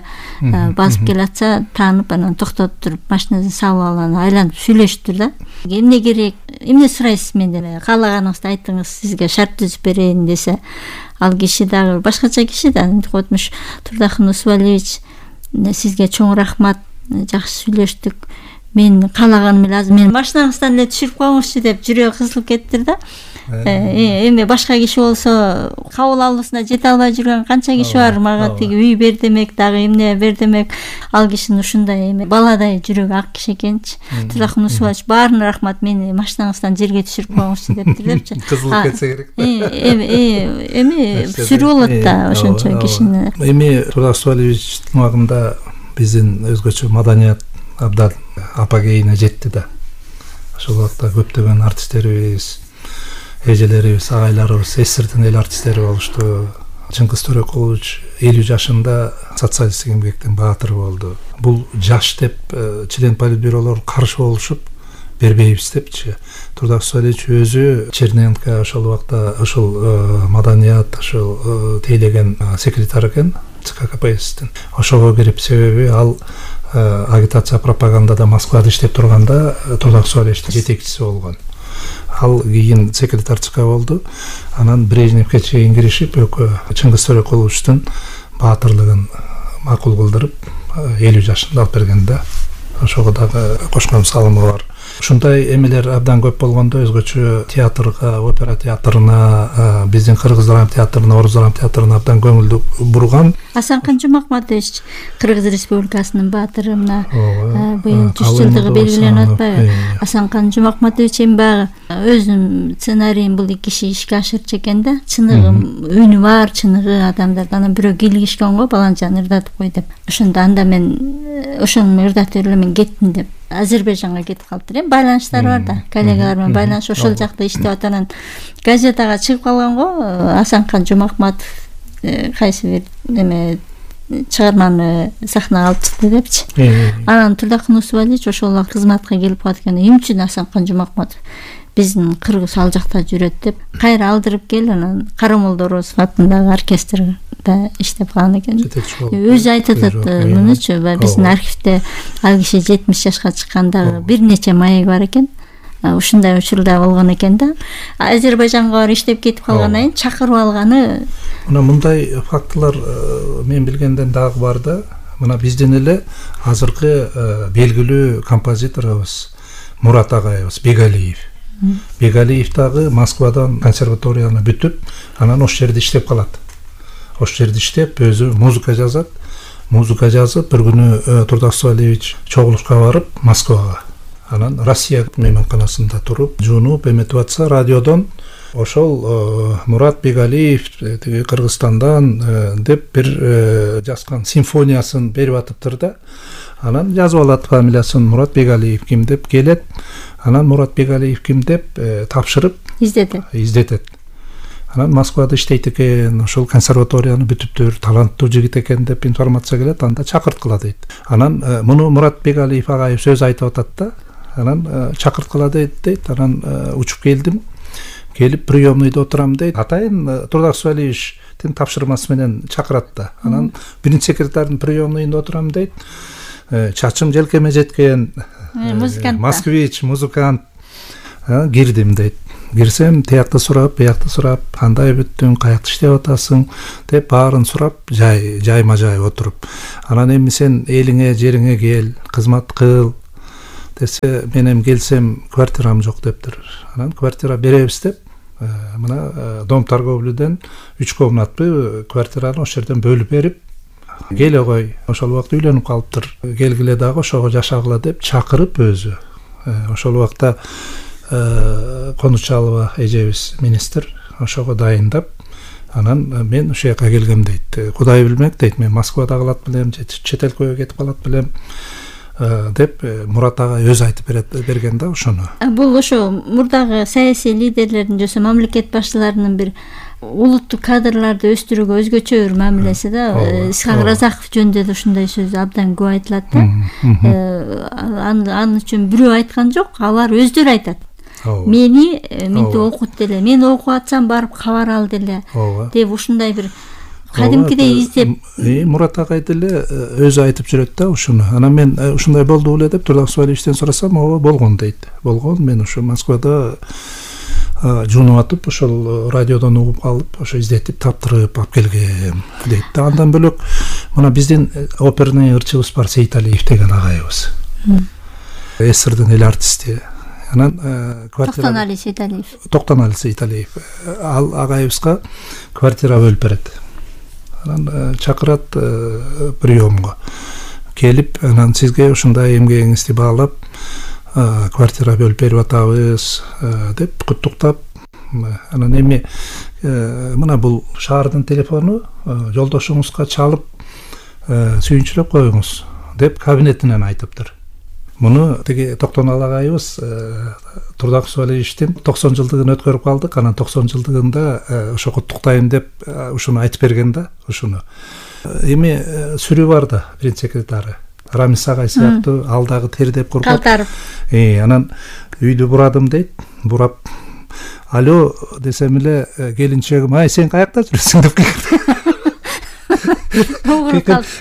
басып келатса, таанып, анан токтотуп туруп машинасына салып алып, анан айланып сүйлөшүптүр да. Эмне керек, эмне сурайсыз менден? Каалаганыңызды айтыңыз, сизге шарт түзүп берейин десе, ал киши дагы башкача киши да, койтмуш Турдахун Усубалевич, сизге чоң рахмат, жакшы сүйлөштүк. Мен каалаганым эле азыр мени машинаңыздан эле түшүрүп коюңузчу деп жүрөгү кызылып кеттир да. Эми башка киши болсо кабыл алуусуна жете албай жүргөн канча киши бар. Мага тиги үй бер демек, дагы эмне бер демек. Ал кишинин ушундай эми баладай жүрөгү ак киши экенчи. Турдахун Усубалевич, баарына рахмат, мени машинаңыздан жерге түшүрүп коюңузчу дептир депчи. Кызылып кетсе керек да. Эми эми сүрүү болот да ошончо кишини. Эми Турдак Суалевичтин убагында биздин өзгөчө маданият абдан апогейине жетти да. Ошол убакта көптөгөн артисттерибиз, эжелерибиз, агайларыбыз эсирдин эл артисттери болушту. Чыңгыз Төрөкулович элүү жашында социалисттик эмгектин баатыры болду. Бул жаш деп член политбюролор каршы болушуп бербейбиз депчи. Турдак Суалевич өзү Черненко ошол убакта ошол маданият, ошол тейлеген секретарь экен ЦК КПССтин. Ошого кирип, себеби ал агитация пропагандада Москвада иштеп турганда Турдак Суалевичтин жетекчиси болгон. Ал кийин секретарь ЦК болду. Анан Брежневке чейин киришип, Чыңгыз Төрөкуловичтин баатырлыгын макул кылдырып, элүү жашында алып берген да. Ошого дагы кошкон салымы бар. Ушундай эмелер абдан көп болгондо өзгөчө театрга, опера театрына, биздин Кыргыз драма театрына, Орус драма театрына абдан көңүлдү бурган. Асанкан Жумакматович Кыргыз Республикасынын баатыры, мына быйыл жүз жылдыгы белгиленип атпайбы? Асанкан Жумакматович эми баягы өзүнүн сценарийин бул эки киши ишке ашырчу экен да. Чыныгы үнү бар, чыныгы адамдар. Анан бирөө килгишкен го, баланчаны ырдатып кой деп. Ошондо анда мен ошону ырдатып эле мен кеттим деп. Азербайжанга кетип калыптыр. Эми байланыштар бар да, коллегалар менен байланыш, ошол жакта иштеп атанан газетага чыгып калган го. Асанкан Жумакматов кайсы бир эме чыгарманы сахнага алып чыкты депчи. Анан Турдакун Усубалевич ошол кызматка келип калат экен. Эмчи Асанкан Жумакматов биздин кыргыз ал жакта жүрөт деп кайра алдырып кел, анан Карамолдо Орозов атындагы оркестрде иштеп калган экен. Өзү айтып атат мунучу, биздин архивде ал киши жетимиш жашка чыкканда бир нече маек бар экен. Ушундай учурда болгон экен да. Азербайжанга барып иштеп кетип калгандан кийин чакырып алганы. Мына мындай фактылар мен билгенден дагы бар да. Мына биздин эле азыркы белгилүү композиторубуз Мурат агайыбыз Бегалиев. Бегалиев дагы Москвадан консерваторияны бүтүп, анан ошол жерде иштеп калат. Ошол жерде иштеп, өзү музыка жазат. Музыка жазып, бир күнү Турдак Суалевич чогулушка барып Москвага. Анан Россия мейманканасында туруп, жуунуп эметип атса, радиодон ошол Мурат Бегалиев тиги Кыргызстандан деп бир жазган симфониясын берип атыптыр да. Анан жазып алат фамилиясын, Мурат Бегалиев ким деп келет. Анан Мурат Бегалиев ким деп тапшырып, издетет издетет анан Москвада иштейт экен, ошол консерваторияны бүтүптүр, таланттуу жигит экен деп информация келет, анда чакырткыла дейт. Анан муну Мурат Бегалиев агайып сөз айтып атат да, анан чакырткыла дейт дейт, анан учуп келдим, келип приемныйда отурам дейт. Атайын Турдак Субалиевичтин тапшырмасы менен чакырат да. Анан биринчи секретардын приемныйында отурам дейт. Чачым желкеме жеткен, музыкант, москвич, музыкант. Кирдим дейт. Кирсем, тиякты сурап, биякты сурап, кандай бүттүң, каякта иштеп атасың деп баарын сурап, жай жайма жай отуруп. Анан эми сен элиңе, жериңе кел, кызмат кыл десе, мен эми келсем квартирам жок дептир. Анан квартира беребиз деп, мына Дом торговлюдөн үч комнатты квартираны ошол жерден бөлүп берип, келе кой, ошол убакта үйлөнүп калыптыр. Келгиле дагы ошого жашагыла деп чакырып өзү. Ошол убакта Конучалова эжебиз министр ошого дайындап, анан мен ошол жака келгем дейт. Кудай билмек дейт, мен Москвада калат белем, чет элге кетип калат белем деп Мурат агай өзү айтып берген да ошону. Бул ошо мурдагы саясий лидерлердин жөнүндө мамлекет башчыларынын бир улуттук кадрларды өстүрүүгө өзгөчө бир мамилеси да. Исхак Разаков жөнүндө да ушундай сөз абдан көп айтылат да. Анын үчүн бирөө айткан жок, алар өздөрү айтат. Мени менти окут деле, мен окуп атсам барып кабар ал деле деп ушундай бир кадимкидей издеп. Мурат агай деле өзү айтып жүрөт да ушуну. Анан мен ушундай болду беле деп Турдак Субалиевичтен сурасам, ооба болгон дейт. Болгон, мен ошо Москвада жунуп атып, ошол радиодон угуп калып, ошо издетип таптырып алып келгем дейт. Андан бөлөк мына биздин оперный ырчыбыз бар, Сейиталиев деген агайыбыз. СССРдин эл артисти. Анан квартира Токтонали Сейиталиев. Токтонали Сейиталиев. Ал агайыбызга квартира бөлүп берет. Анан чакырат приемго. Келип, анан сизге ушундай эмгегиңизди баалап, квартира бөлүп берип атабыз деп куттуктап, анан эми мына бул шаардын телефону, жолдошуңузга чалып сүйүнчүлөп коюңуз деп кабинетинен айтыптыр. Муну тиги Токтонал агайыбыз Турдак Субалиевичтин токсон жылдыгын өткөрүп калдык. Анан токсон жылдыгында ошо куттуктайм деп ушуну айтып берген да, ушуну. Эми сүрүү бар да, биринчи секретары. Рамис агай сыяктуу, ал дагы тердеп кургап. Калтарып. Э, анан үйдү бурадым дейт. Бурап, алло десем эле келинчегим, ай сен каякта жүрөсүң деп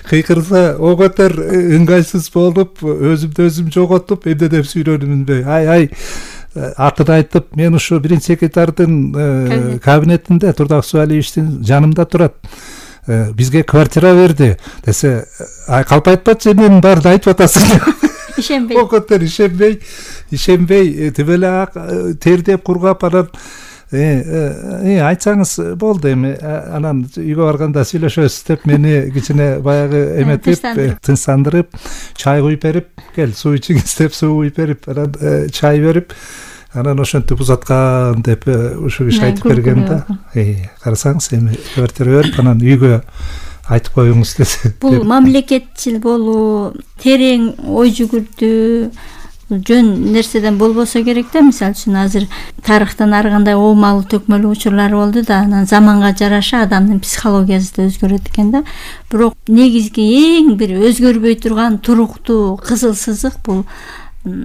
кыйкырса, о катар ыңгайсыз болуп, өзүмдү өзүм жоготуп, эмне деп сүйлөнүмүнбү? Ай, ай, атын айтып, мен ушу биринчи секретардын кабинетинде Турдак Субалиевичтин жанымда турат. Бизге квартира берди десе, ай калп айтпачы, мен барды айтып атасың. Ишенбей. О катар ишенбей, ишенбей, тибеле тердеп кургап, анан Э, айтсаңыз болду эми, анан үйгө барганда сүйлөшөбүз деп мени кичине баягы эметип, тынчсандырып, чай куюп берип, кел суу ичиңиз деп суу куюп берип, анан чай берип, анан ошентип узаткан деп ушу киши айтып берген да. Э, карасаңыз эми квартира берип, анан үйгө айтып коюңуз десе. Бул мамлекетчил болуу, терең ой жүгүртүү жөн нерседен болбосо керек да. Мисалы үчүн азыр тарыхтан ар кандай оомалуу төкмөлүү учурлар болду да, анан заманга жараша адамдын психологиясы да өзгөрөт экен да. Бирок негизги эң бир өзгөрбөй турган туруктуу кызыл сызык бул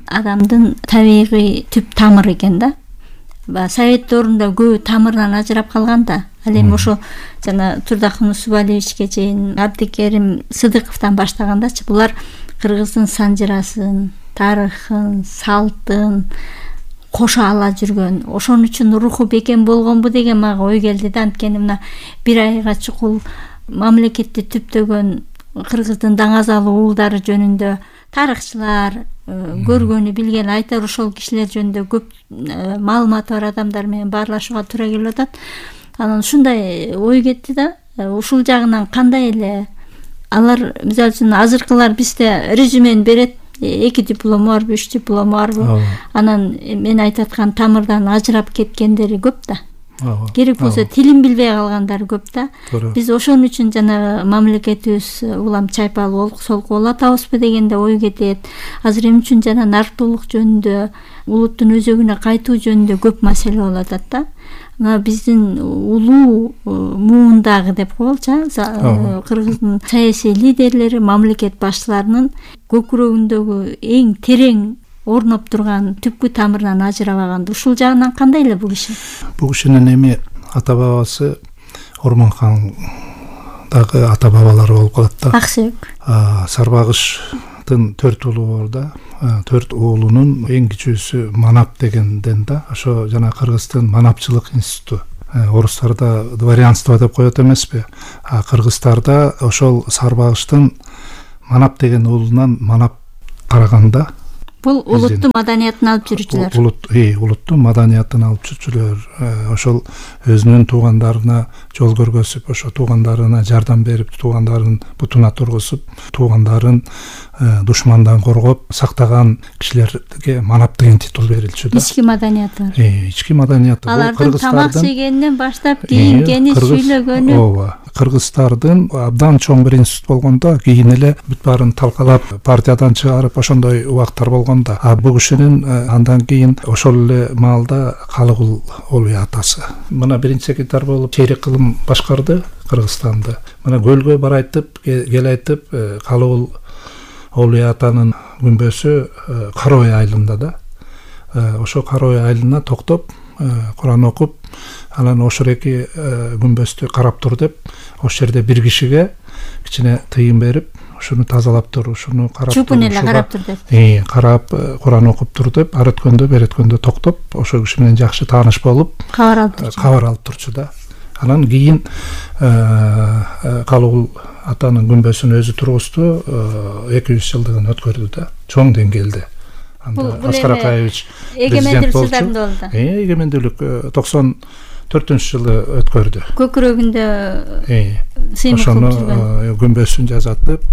адамдын табигый түп тамыры экен да. Совет доорунда көбү тамырдан ажырап калган да. Ал эми ошо жана Турдак Субалиевичке чейин Абдикерим Сыдыковдон баштагандачы булар кыргыздын санжырасын, тарыхын, салтын кошо ала жүргөн. Ошон үчүн руху бекем болгонбу деген мага ой келди да. Анткени мына бир айга чукул мамлекетти түптөгөн кыргыздын даңазалуу уулдары жөнүндө тарыхчылар, көргөнү билген айтар ошол кишилер жөнүндө көп маалыматы бар адамдар менен баарлашууга туура келип атат. Анан ушундай ой кетти да. Ушул жагынан кандай эле алар, мисалы үчүн азыркылар бизде резюмени берет, эки диплому барбы, үч диплому барбы. Анан мен айтып аткан тамырдан ажырап кеткендери көп да. керек болсо тилин билбей калгандар көп да. Биз ошон үчүн жанагы мамлекетибиз улам чайпалып олку солку болуп атабызбы дегенде ой кетет. Азыр эмне үчүн жана нарктуулук жөнүндө, улуттун өзөгүнө кайтуу жөнүндө көп маселе болуп атат да. Мына биздин улуу муундагы деп коелучу, Кыргыздын саясий лидерлери, мамлекет башчыларынын көкүрөгүндөгү эң терең орноп турган түпкү тамырынан ажырабаган. Ушул жагынан кандай эле бул киши? Бул кишинин эми ата бабасы Ормонхандагы ата бабалары болуп калат да. Аксөөк. Сарбагыштын төрт уулу бар да. Төрт уулунун эң кичүүсү Манап дегенден да. Ошо жана Кыргыздын манапчылык институту. Орустарда дворянство деп коет эмеспи? А кыргыздарда ошол Сарбагыштын Манап деген уулунан Манап караганда бул улуттун маданиятын алып жүрүүчүлөр. Улут, э, улуттун маданиятын алып жүрүүчүлөр. Ошол өзүнүн туугандарына жол көргөзүп, ошо туугандарына жардам берип, туугандарын бутуна тургузуп, туугандарын душмандан коргоп сактаган кишилерге Манап деген титул берилчү да. Ички маданияты. Э, ички маданияты. Алардын тамак жегенинен баштап кийингени, сүйлөгөнү. Ооба. Кыргыздардын абдан чоң бир институт болгондо, кийин эле бүт баарын талкалап, партиядан чыгарып, ошондой убактар болгондо, а бул кишинин андан кийин ошол эле маалда Калыгул Олуй атасы. Мына биринчи секретарь болуп чейрек кылым башкарды Кыргызстанды. Мына көлгө барайтып, кел айтып, Калыгул Олуй атанын күмбөсү Карой айылында да. Ошо Карой айылына токтоп, Куран окуп, анан ошол эки күмбөздү карап тур деп, ошол жерде бир кишиге кичине тыйын берип, ушуну тазалап тур, ушуну карап тур. Чупун эле карап тур деп. Э, карап, Куран окуп тур деп, ар өткөндө, бер өткөндө токтоп, ошол киши менен жакшы тааныш болуп, кабар алып турчу. Кабар алып турчу да. Анан кийин Калыгул атанын күмбөсүн өзү тургузду, эки жүз жылдыгын өткөрдү да, чоң деңгээлде. Анда Аскар Акаевич эгемендүүлүк жылдарында болду. Э, эгемендүүлүк токсон төртүнчү жылы өткөрдү. Көкүрөгүндө сыймык ошону күмбөсүн жазатып,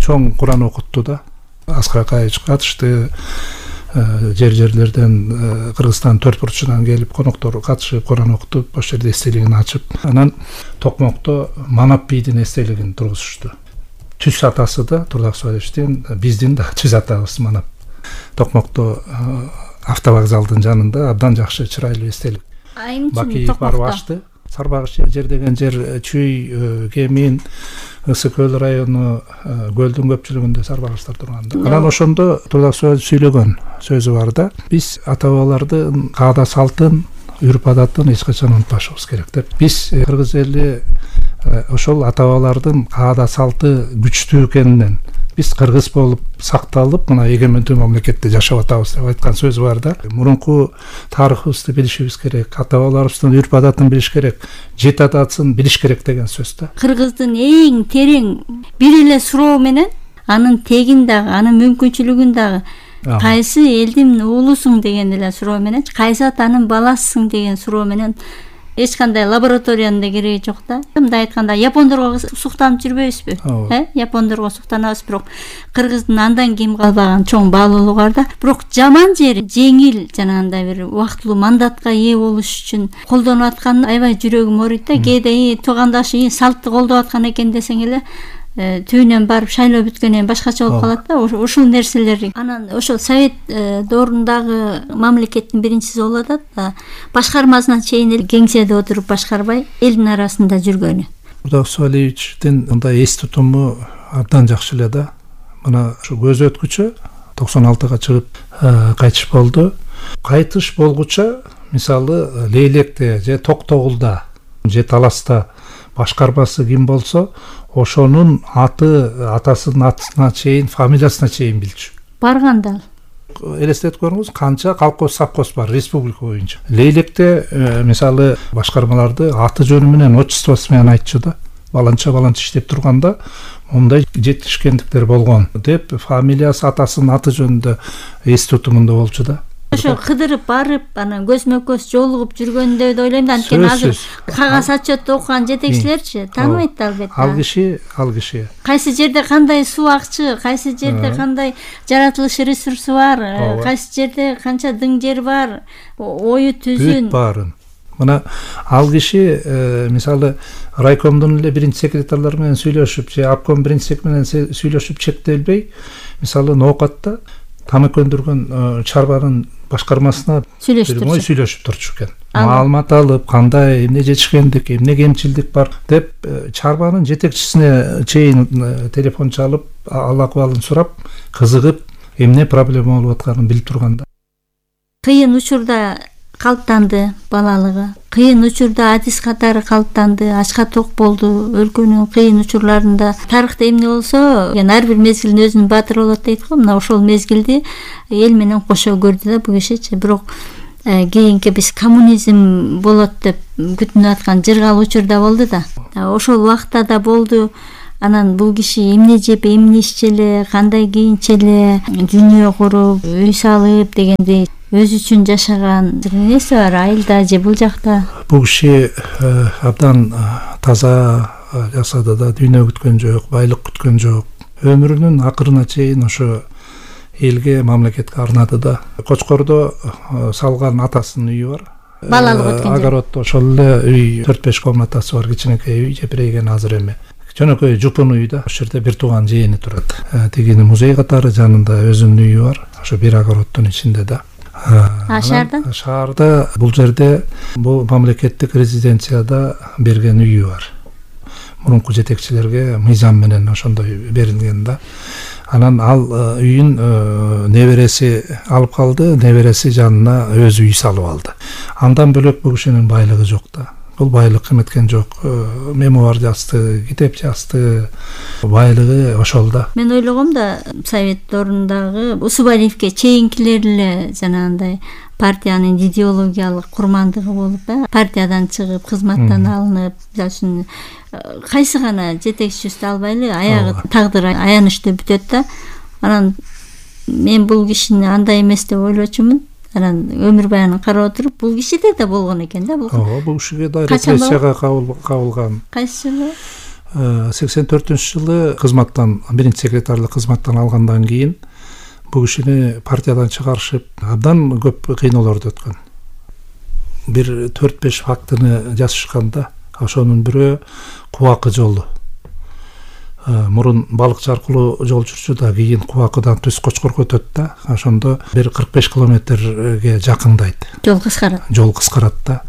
чоң Куран окутту да. Аскар Акаевич катышты, жер-жерлерден, Кыргызстан төрт бурчунан келип коноктор катышып Куран окутуп, ошол жерде эстелигин ачып, анан Токмокто Манап бийдин эстелигин тургузушту. Түз атасы да Турдаксуалевичтин, биздин да түз атабыз Манап. Токмокто автовокзалдын жанында абдан жакшы чырайлуу эстелик. Бакиев барып ачты. Сарбагыш жер деген жер Чүй, Кемин, Ысык көл району, көлдүн көпчүлүгүндө сарбагыштар турган. Анан ошондо Турдаксуалевич сүйлөгөн сөзү бар да. Биз ата бабалардын каада салтын, үрп адатын эч качан унутпашыбыз керек деп. Биз кыргыз эли ошол ата бабалардын каада салты күчтүү экенинен биз кыргыз болуп сакталып, мына эгемендүү мамлекетте жашап атабыз деп айткан сөзү бар да. Мурунку тарыхыбызды билишибиз керек, ата бабаларыбыздын үрп адатын билиш керек, жет атасын билиш керек деген сөз да. Кыргыздын эң терең бир эле суроо менен анын тегин дагы, анын мүмкүнчүлүгүн дагы, кайсы элдин уулусуң деген эле суроо менен, кайсы атанын баласысың деген суроо менен эч кандай лабораториянын да кереги жок да. Мындай айтканда, япондорго суктанып жүрбөйбүзбү? Э, япондорго суктанабыз, бирок Кыргыздын андан кийин калбаган чоң баалуулугу бар да. Бирок жаман жери жеңил жанагындай бир убактылуу мандатка ээ болуш үчүн колдонуп аткан аябай жүрөгүм ооруйт да. Кээде салттуу салтты колдоп аткан экен десең эле, түбүнөн барып шайлоо бүткөндөн башкача болуп калат да. Ушул нерселер анан ошол совет доорундагы мамлекеттин биринчиси болуп атат да. Башкармасына чейин кеңседе отуруп башкарбай, элдин арасында жүргөнү. Турдаксуалевичтин мындай эс тутуму абдан жакшы эле да. Мына ушу көз өткүчө токсон алтыга чыгып кайтыш болду. Кайтыш болгуча, мисалы, Лейлекте же Токтогулда же Таласта башкармасы ким болсо, ошонун аты, атасынын атына чейин, фамилиясына чейин билчү. Барганда элестетип көрүңүз, канча колхоз совхоз бар республика боюнча. Лейлекте мисалы башкармаларды аты жөнү менен, отчествосу менен айтчу да. Баланча баланча иштеп турганда мындай жетишкендиктер болгон деп, фамилиясы атасынын аты жөнүндө эс тутумунда болчу да. Ошо кыдырып барып, анан көзмө көз жолугуп жүргөндө деп ойлойм да. Анткени азыр кагаз отчетти окуган жетекчилерчи тааныбайт да албетте. Ал киши, ал киши. Кайсы жерде кандай суу акчы, кайсы жерде кандай жаратылыш ресурсу бар, кайсы жерде канча дың жер бар, ою түзүн. Бүт баарын, Мына ал киши мисалы райкомдун эле биринчи секретарлары менен сүйлөшүп же обком биринчи сек менен сүйлөшүп чектелбей, мисалы ноокатта тамак өндүргөн чарбанын башкармасына сүйлөшүп сүйлөшүп турчу экен. Маалымат алып, кандай эмне жетишкендик, эмне кемчилдик бар деп чарбанын жетекчисине чейин телефон чалып, ал акыбалын сурап, кызыгып, эмне проблема болуп атканын билип турганда. Кыйын учурда калыптанды балалыгы. Кыйын учурда адис катары калыптанды, ачка ток болду. Өлкөнүн кыйын учурларында тарыхта эмне болсо, яна ар бир мезгилдин өзүнүн баатыры болот дейт го. Мына ошол мезгилди эл менен кошо көрдү да бул кишичи. Бирок кийинки биз коммунизм болот деп күтүнүп аткан жыргал учурда болду да. Ошол убакта да болду. Анан бул киши эмне жеп, эмне иччеле, кандай кийинчеле, дүйнө куруп, үй салып дегендей өзү үчүн жашаган нерсе бар айылда же бул жакта. Бул киши абдан таза жашады да, дүйнө күткөн жок, байлык күткөн жок. Өмүрүнүн акырына чейин ошо элге, мамлекетке арнады да. Кочкордо салган атасынын үйү бар. Балалык өткөн. Огороддо ошол эле үй төрт беш комнатасы бар, кичинекей үй, жепирейген азыр эме. Жөнөкөй жупун үй да. Ошол жерде бир тууган жээни турат. Тигини музей катары жанында өзүнүн үйү бар. Ошо бир огороддун ичинде да. А шаарда? Шаарда бул жерде бул мамлекеттик резиденцияда берген үйү бар. Мурунку жетекчилерге мыйзам менен ошондой берилген да. Анан ал үйүн небереси алып калды, небереси жанына өзү үй салып алды. Андан бөлөк бул кишинин байлыгы жок да. Бул байлык эметкен жок. Мемуар жазды, китеп жазды. Байлыгы ошол да. Мен ойлогом да, совет дорундагы Усубалиевке чейинкилер эле жанагындай партиянын идеологиялык курмандыгы болуп, партиядан чыгып, кызматтан алынып, мисалы үчүн кайсы гана жетекчибизди албайлы, аягы тагдыр аянычтуу бүтөт да. Анан мен бул кишини андай эмес деп ойлочумун. Анан өмүр баянын карап отуруп, бул кишиде да болгон экен да бул. Ооба, бул кишиге да репрессияга кабылган. Кайсы жылы? сексен төртүнчү жылы кызматтан, биринчи секретарлык кызматтан алгандан кийин бул кишини партиядан чыгарышып, абдан көп кыйноолорду өткөн. Бир төрт беш фактыны жазышканда, ошонун бирөө Кубакы жолу. Мурун балыкчы аркылуу жол жүрчү да, кийин Кубакыдан түз Кочкорго өтөт да. Ошондо бир кырк беш километрге жакындайт. Жол кыскарат. Жол кыскарат да.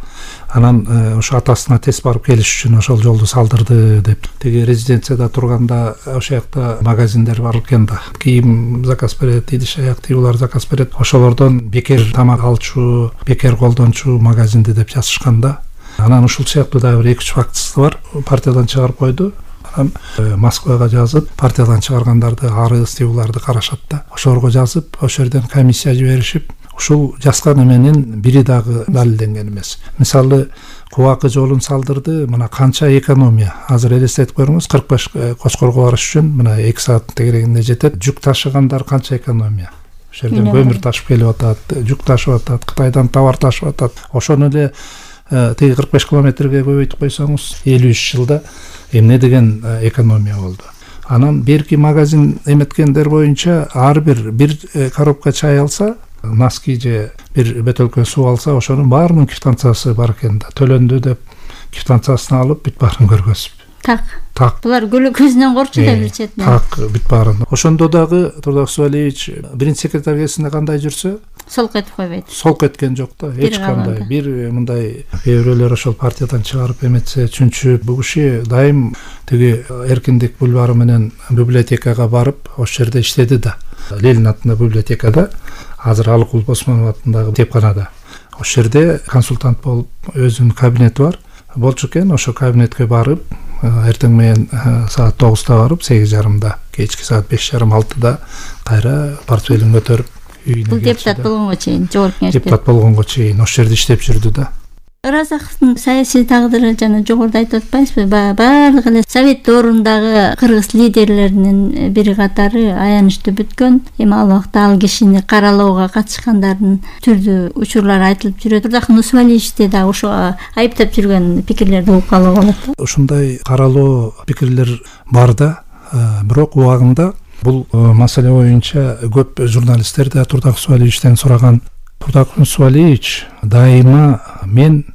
Анан ошо атасына тез барып келиш үчүн ошол жолду салдырды деп. Теги резиденцияда турганда ошол жакта магазиндер бар экен да. Кийим заказ берет, идиш аяк тийүүлөр заказ берет. Ошолордон бекер тамак алчу, бекер колдончу магазинди деп жазышканда. Анан ушул сыяктуу дагы бир эки үч фактысы бар. Партиядан чыгарып койду. Анан Москвага жазып, партиядан чыгаргандарды, арыз тийүүлөрдү карашат да. Ошолорго жазып, ошол жерден комиссия жиберишип, ушул жазган эменин бири дагы далилденген эмес. Мисалы, Кубакы жолун салдырды, мына канча экономия. Азыр элестетип коюңуз, кырк беш Кочкорго барыш үчүн мына эки саат тегерегинде жетет. Жүк ташыгандар канча экономия. Ошол жерден көмүр ташып келип атат, жүк ташып атат, Кытайдан товар ташып атат. Ошону эле теги кырк беш километрге көбөйтүп койсоңуз, элүү үч жылда эмне деген экономия болду. Анан берки магазин эметкендер боюнча ар бир бир коробка чай алса, носки же бир бөтөлкө суу алса, ошонун баарынын квитанциясы бар экен да. Төлөндү деп квитанциясын алып, бүт баарын көргөзүп. Так. Так. Булар көзүнөн корчу да бир четинен. Так, бүт баарын. Ошондо дагы Турдак Усубалиевич биринчи секретарь кесинде кандай жүрсө, солк этип койбойт. Солк эткен жок да, эч кандай. Бир мындай кээ-бирөөлөр ошол партиядан чыгарып эметсе, чүнчү бул киши дайым тиги Эркиндик бульвары менен библиотекага барып, ошол жерде иштеди да. Ленин атындагы библиотекада, азыр Алыкул Босмонов атындагы китепканада. Ошол жерде консультант болуп, өзүнүн кабинети бар. Болчу экен, ошол кабинетке барып, эртең менен саат тогузда барып, сегиз жарымда, кечки саат беш жарым алтыда кайра портфелин көтөрүп үйүнө келди. Бул депутат болгонго чейин, жогорку кеңеште. Депутат болгонго чейин ошол жерде иштеп жүрдү да. Ыразаковдун саясий тагдыры жана жогоруда айтып атпайсызбы? Баардык эле совет доорундагы кыргыз лидерлеринин бири катары аянычтуу бүткөн. Эми ал убакта ал кишини каралоого катышкандардын түрдүү учурлары айтылып жүрөт. Турдак Усубалиевичти да ошо айыптап жүргөн пикирлерди угуп калууга болот. Ушундай каралоо пикирлер бар да, бирок убагында бул маселе боюнча көп журналисттер да Турдак Усубалиевичтен сураган. Турдак Усубалиевич дайыма мен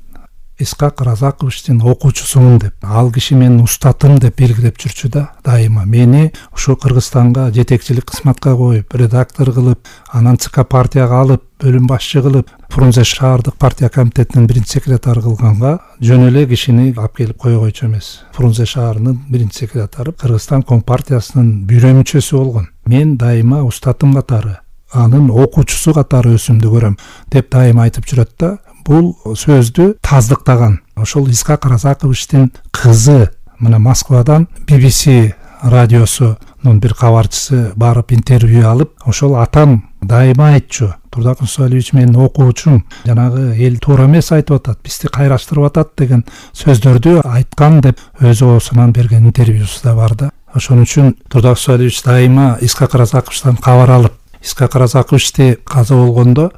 Исхак Разаковичтин окуучусумун деп, ал киши менин устатым деп белгилеп жүрчү да дайыма. Мени ушу Кыргызстанга жетекчилик кызматка коюп, редактор кылып, анан ЦК партияга алып, бөлүм башчы кылып, Фрунзе шаардык партия комитетинин биринчи секретары кылганга жөн эле кишини алып келип койгойчу эмес. Фрунзе шаарынын биринчи секретары, Кыргызстан Компартиясынын бюро мүчөсү болгон. Мен дайыма устатым катары, анын окуучусу катары өзүмдү көрөм деп дайыма айтып жүрөт да. Бул сөздү таздыктаган ошол Исхак Разаковичтин кызы мына Москвадан би би си радиосунун бир кабарчысы барып интервью алып, ошол атам дайыма айтчу, Турдакын Сулайбиевич менин окуучум, жанагы эл туура эмес айтып атат, бизди кайраштырып атат деген сөздөрдү айткан деп өзү оосунан берген интервьюсу да бар да. Ошон үчүн Турдак Сулайбиевич дайыма Исхак Разаковичтан кабар алып, Исхак Разаковичти каза болгондо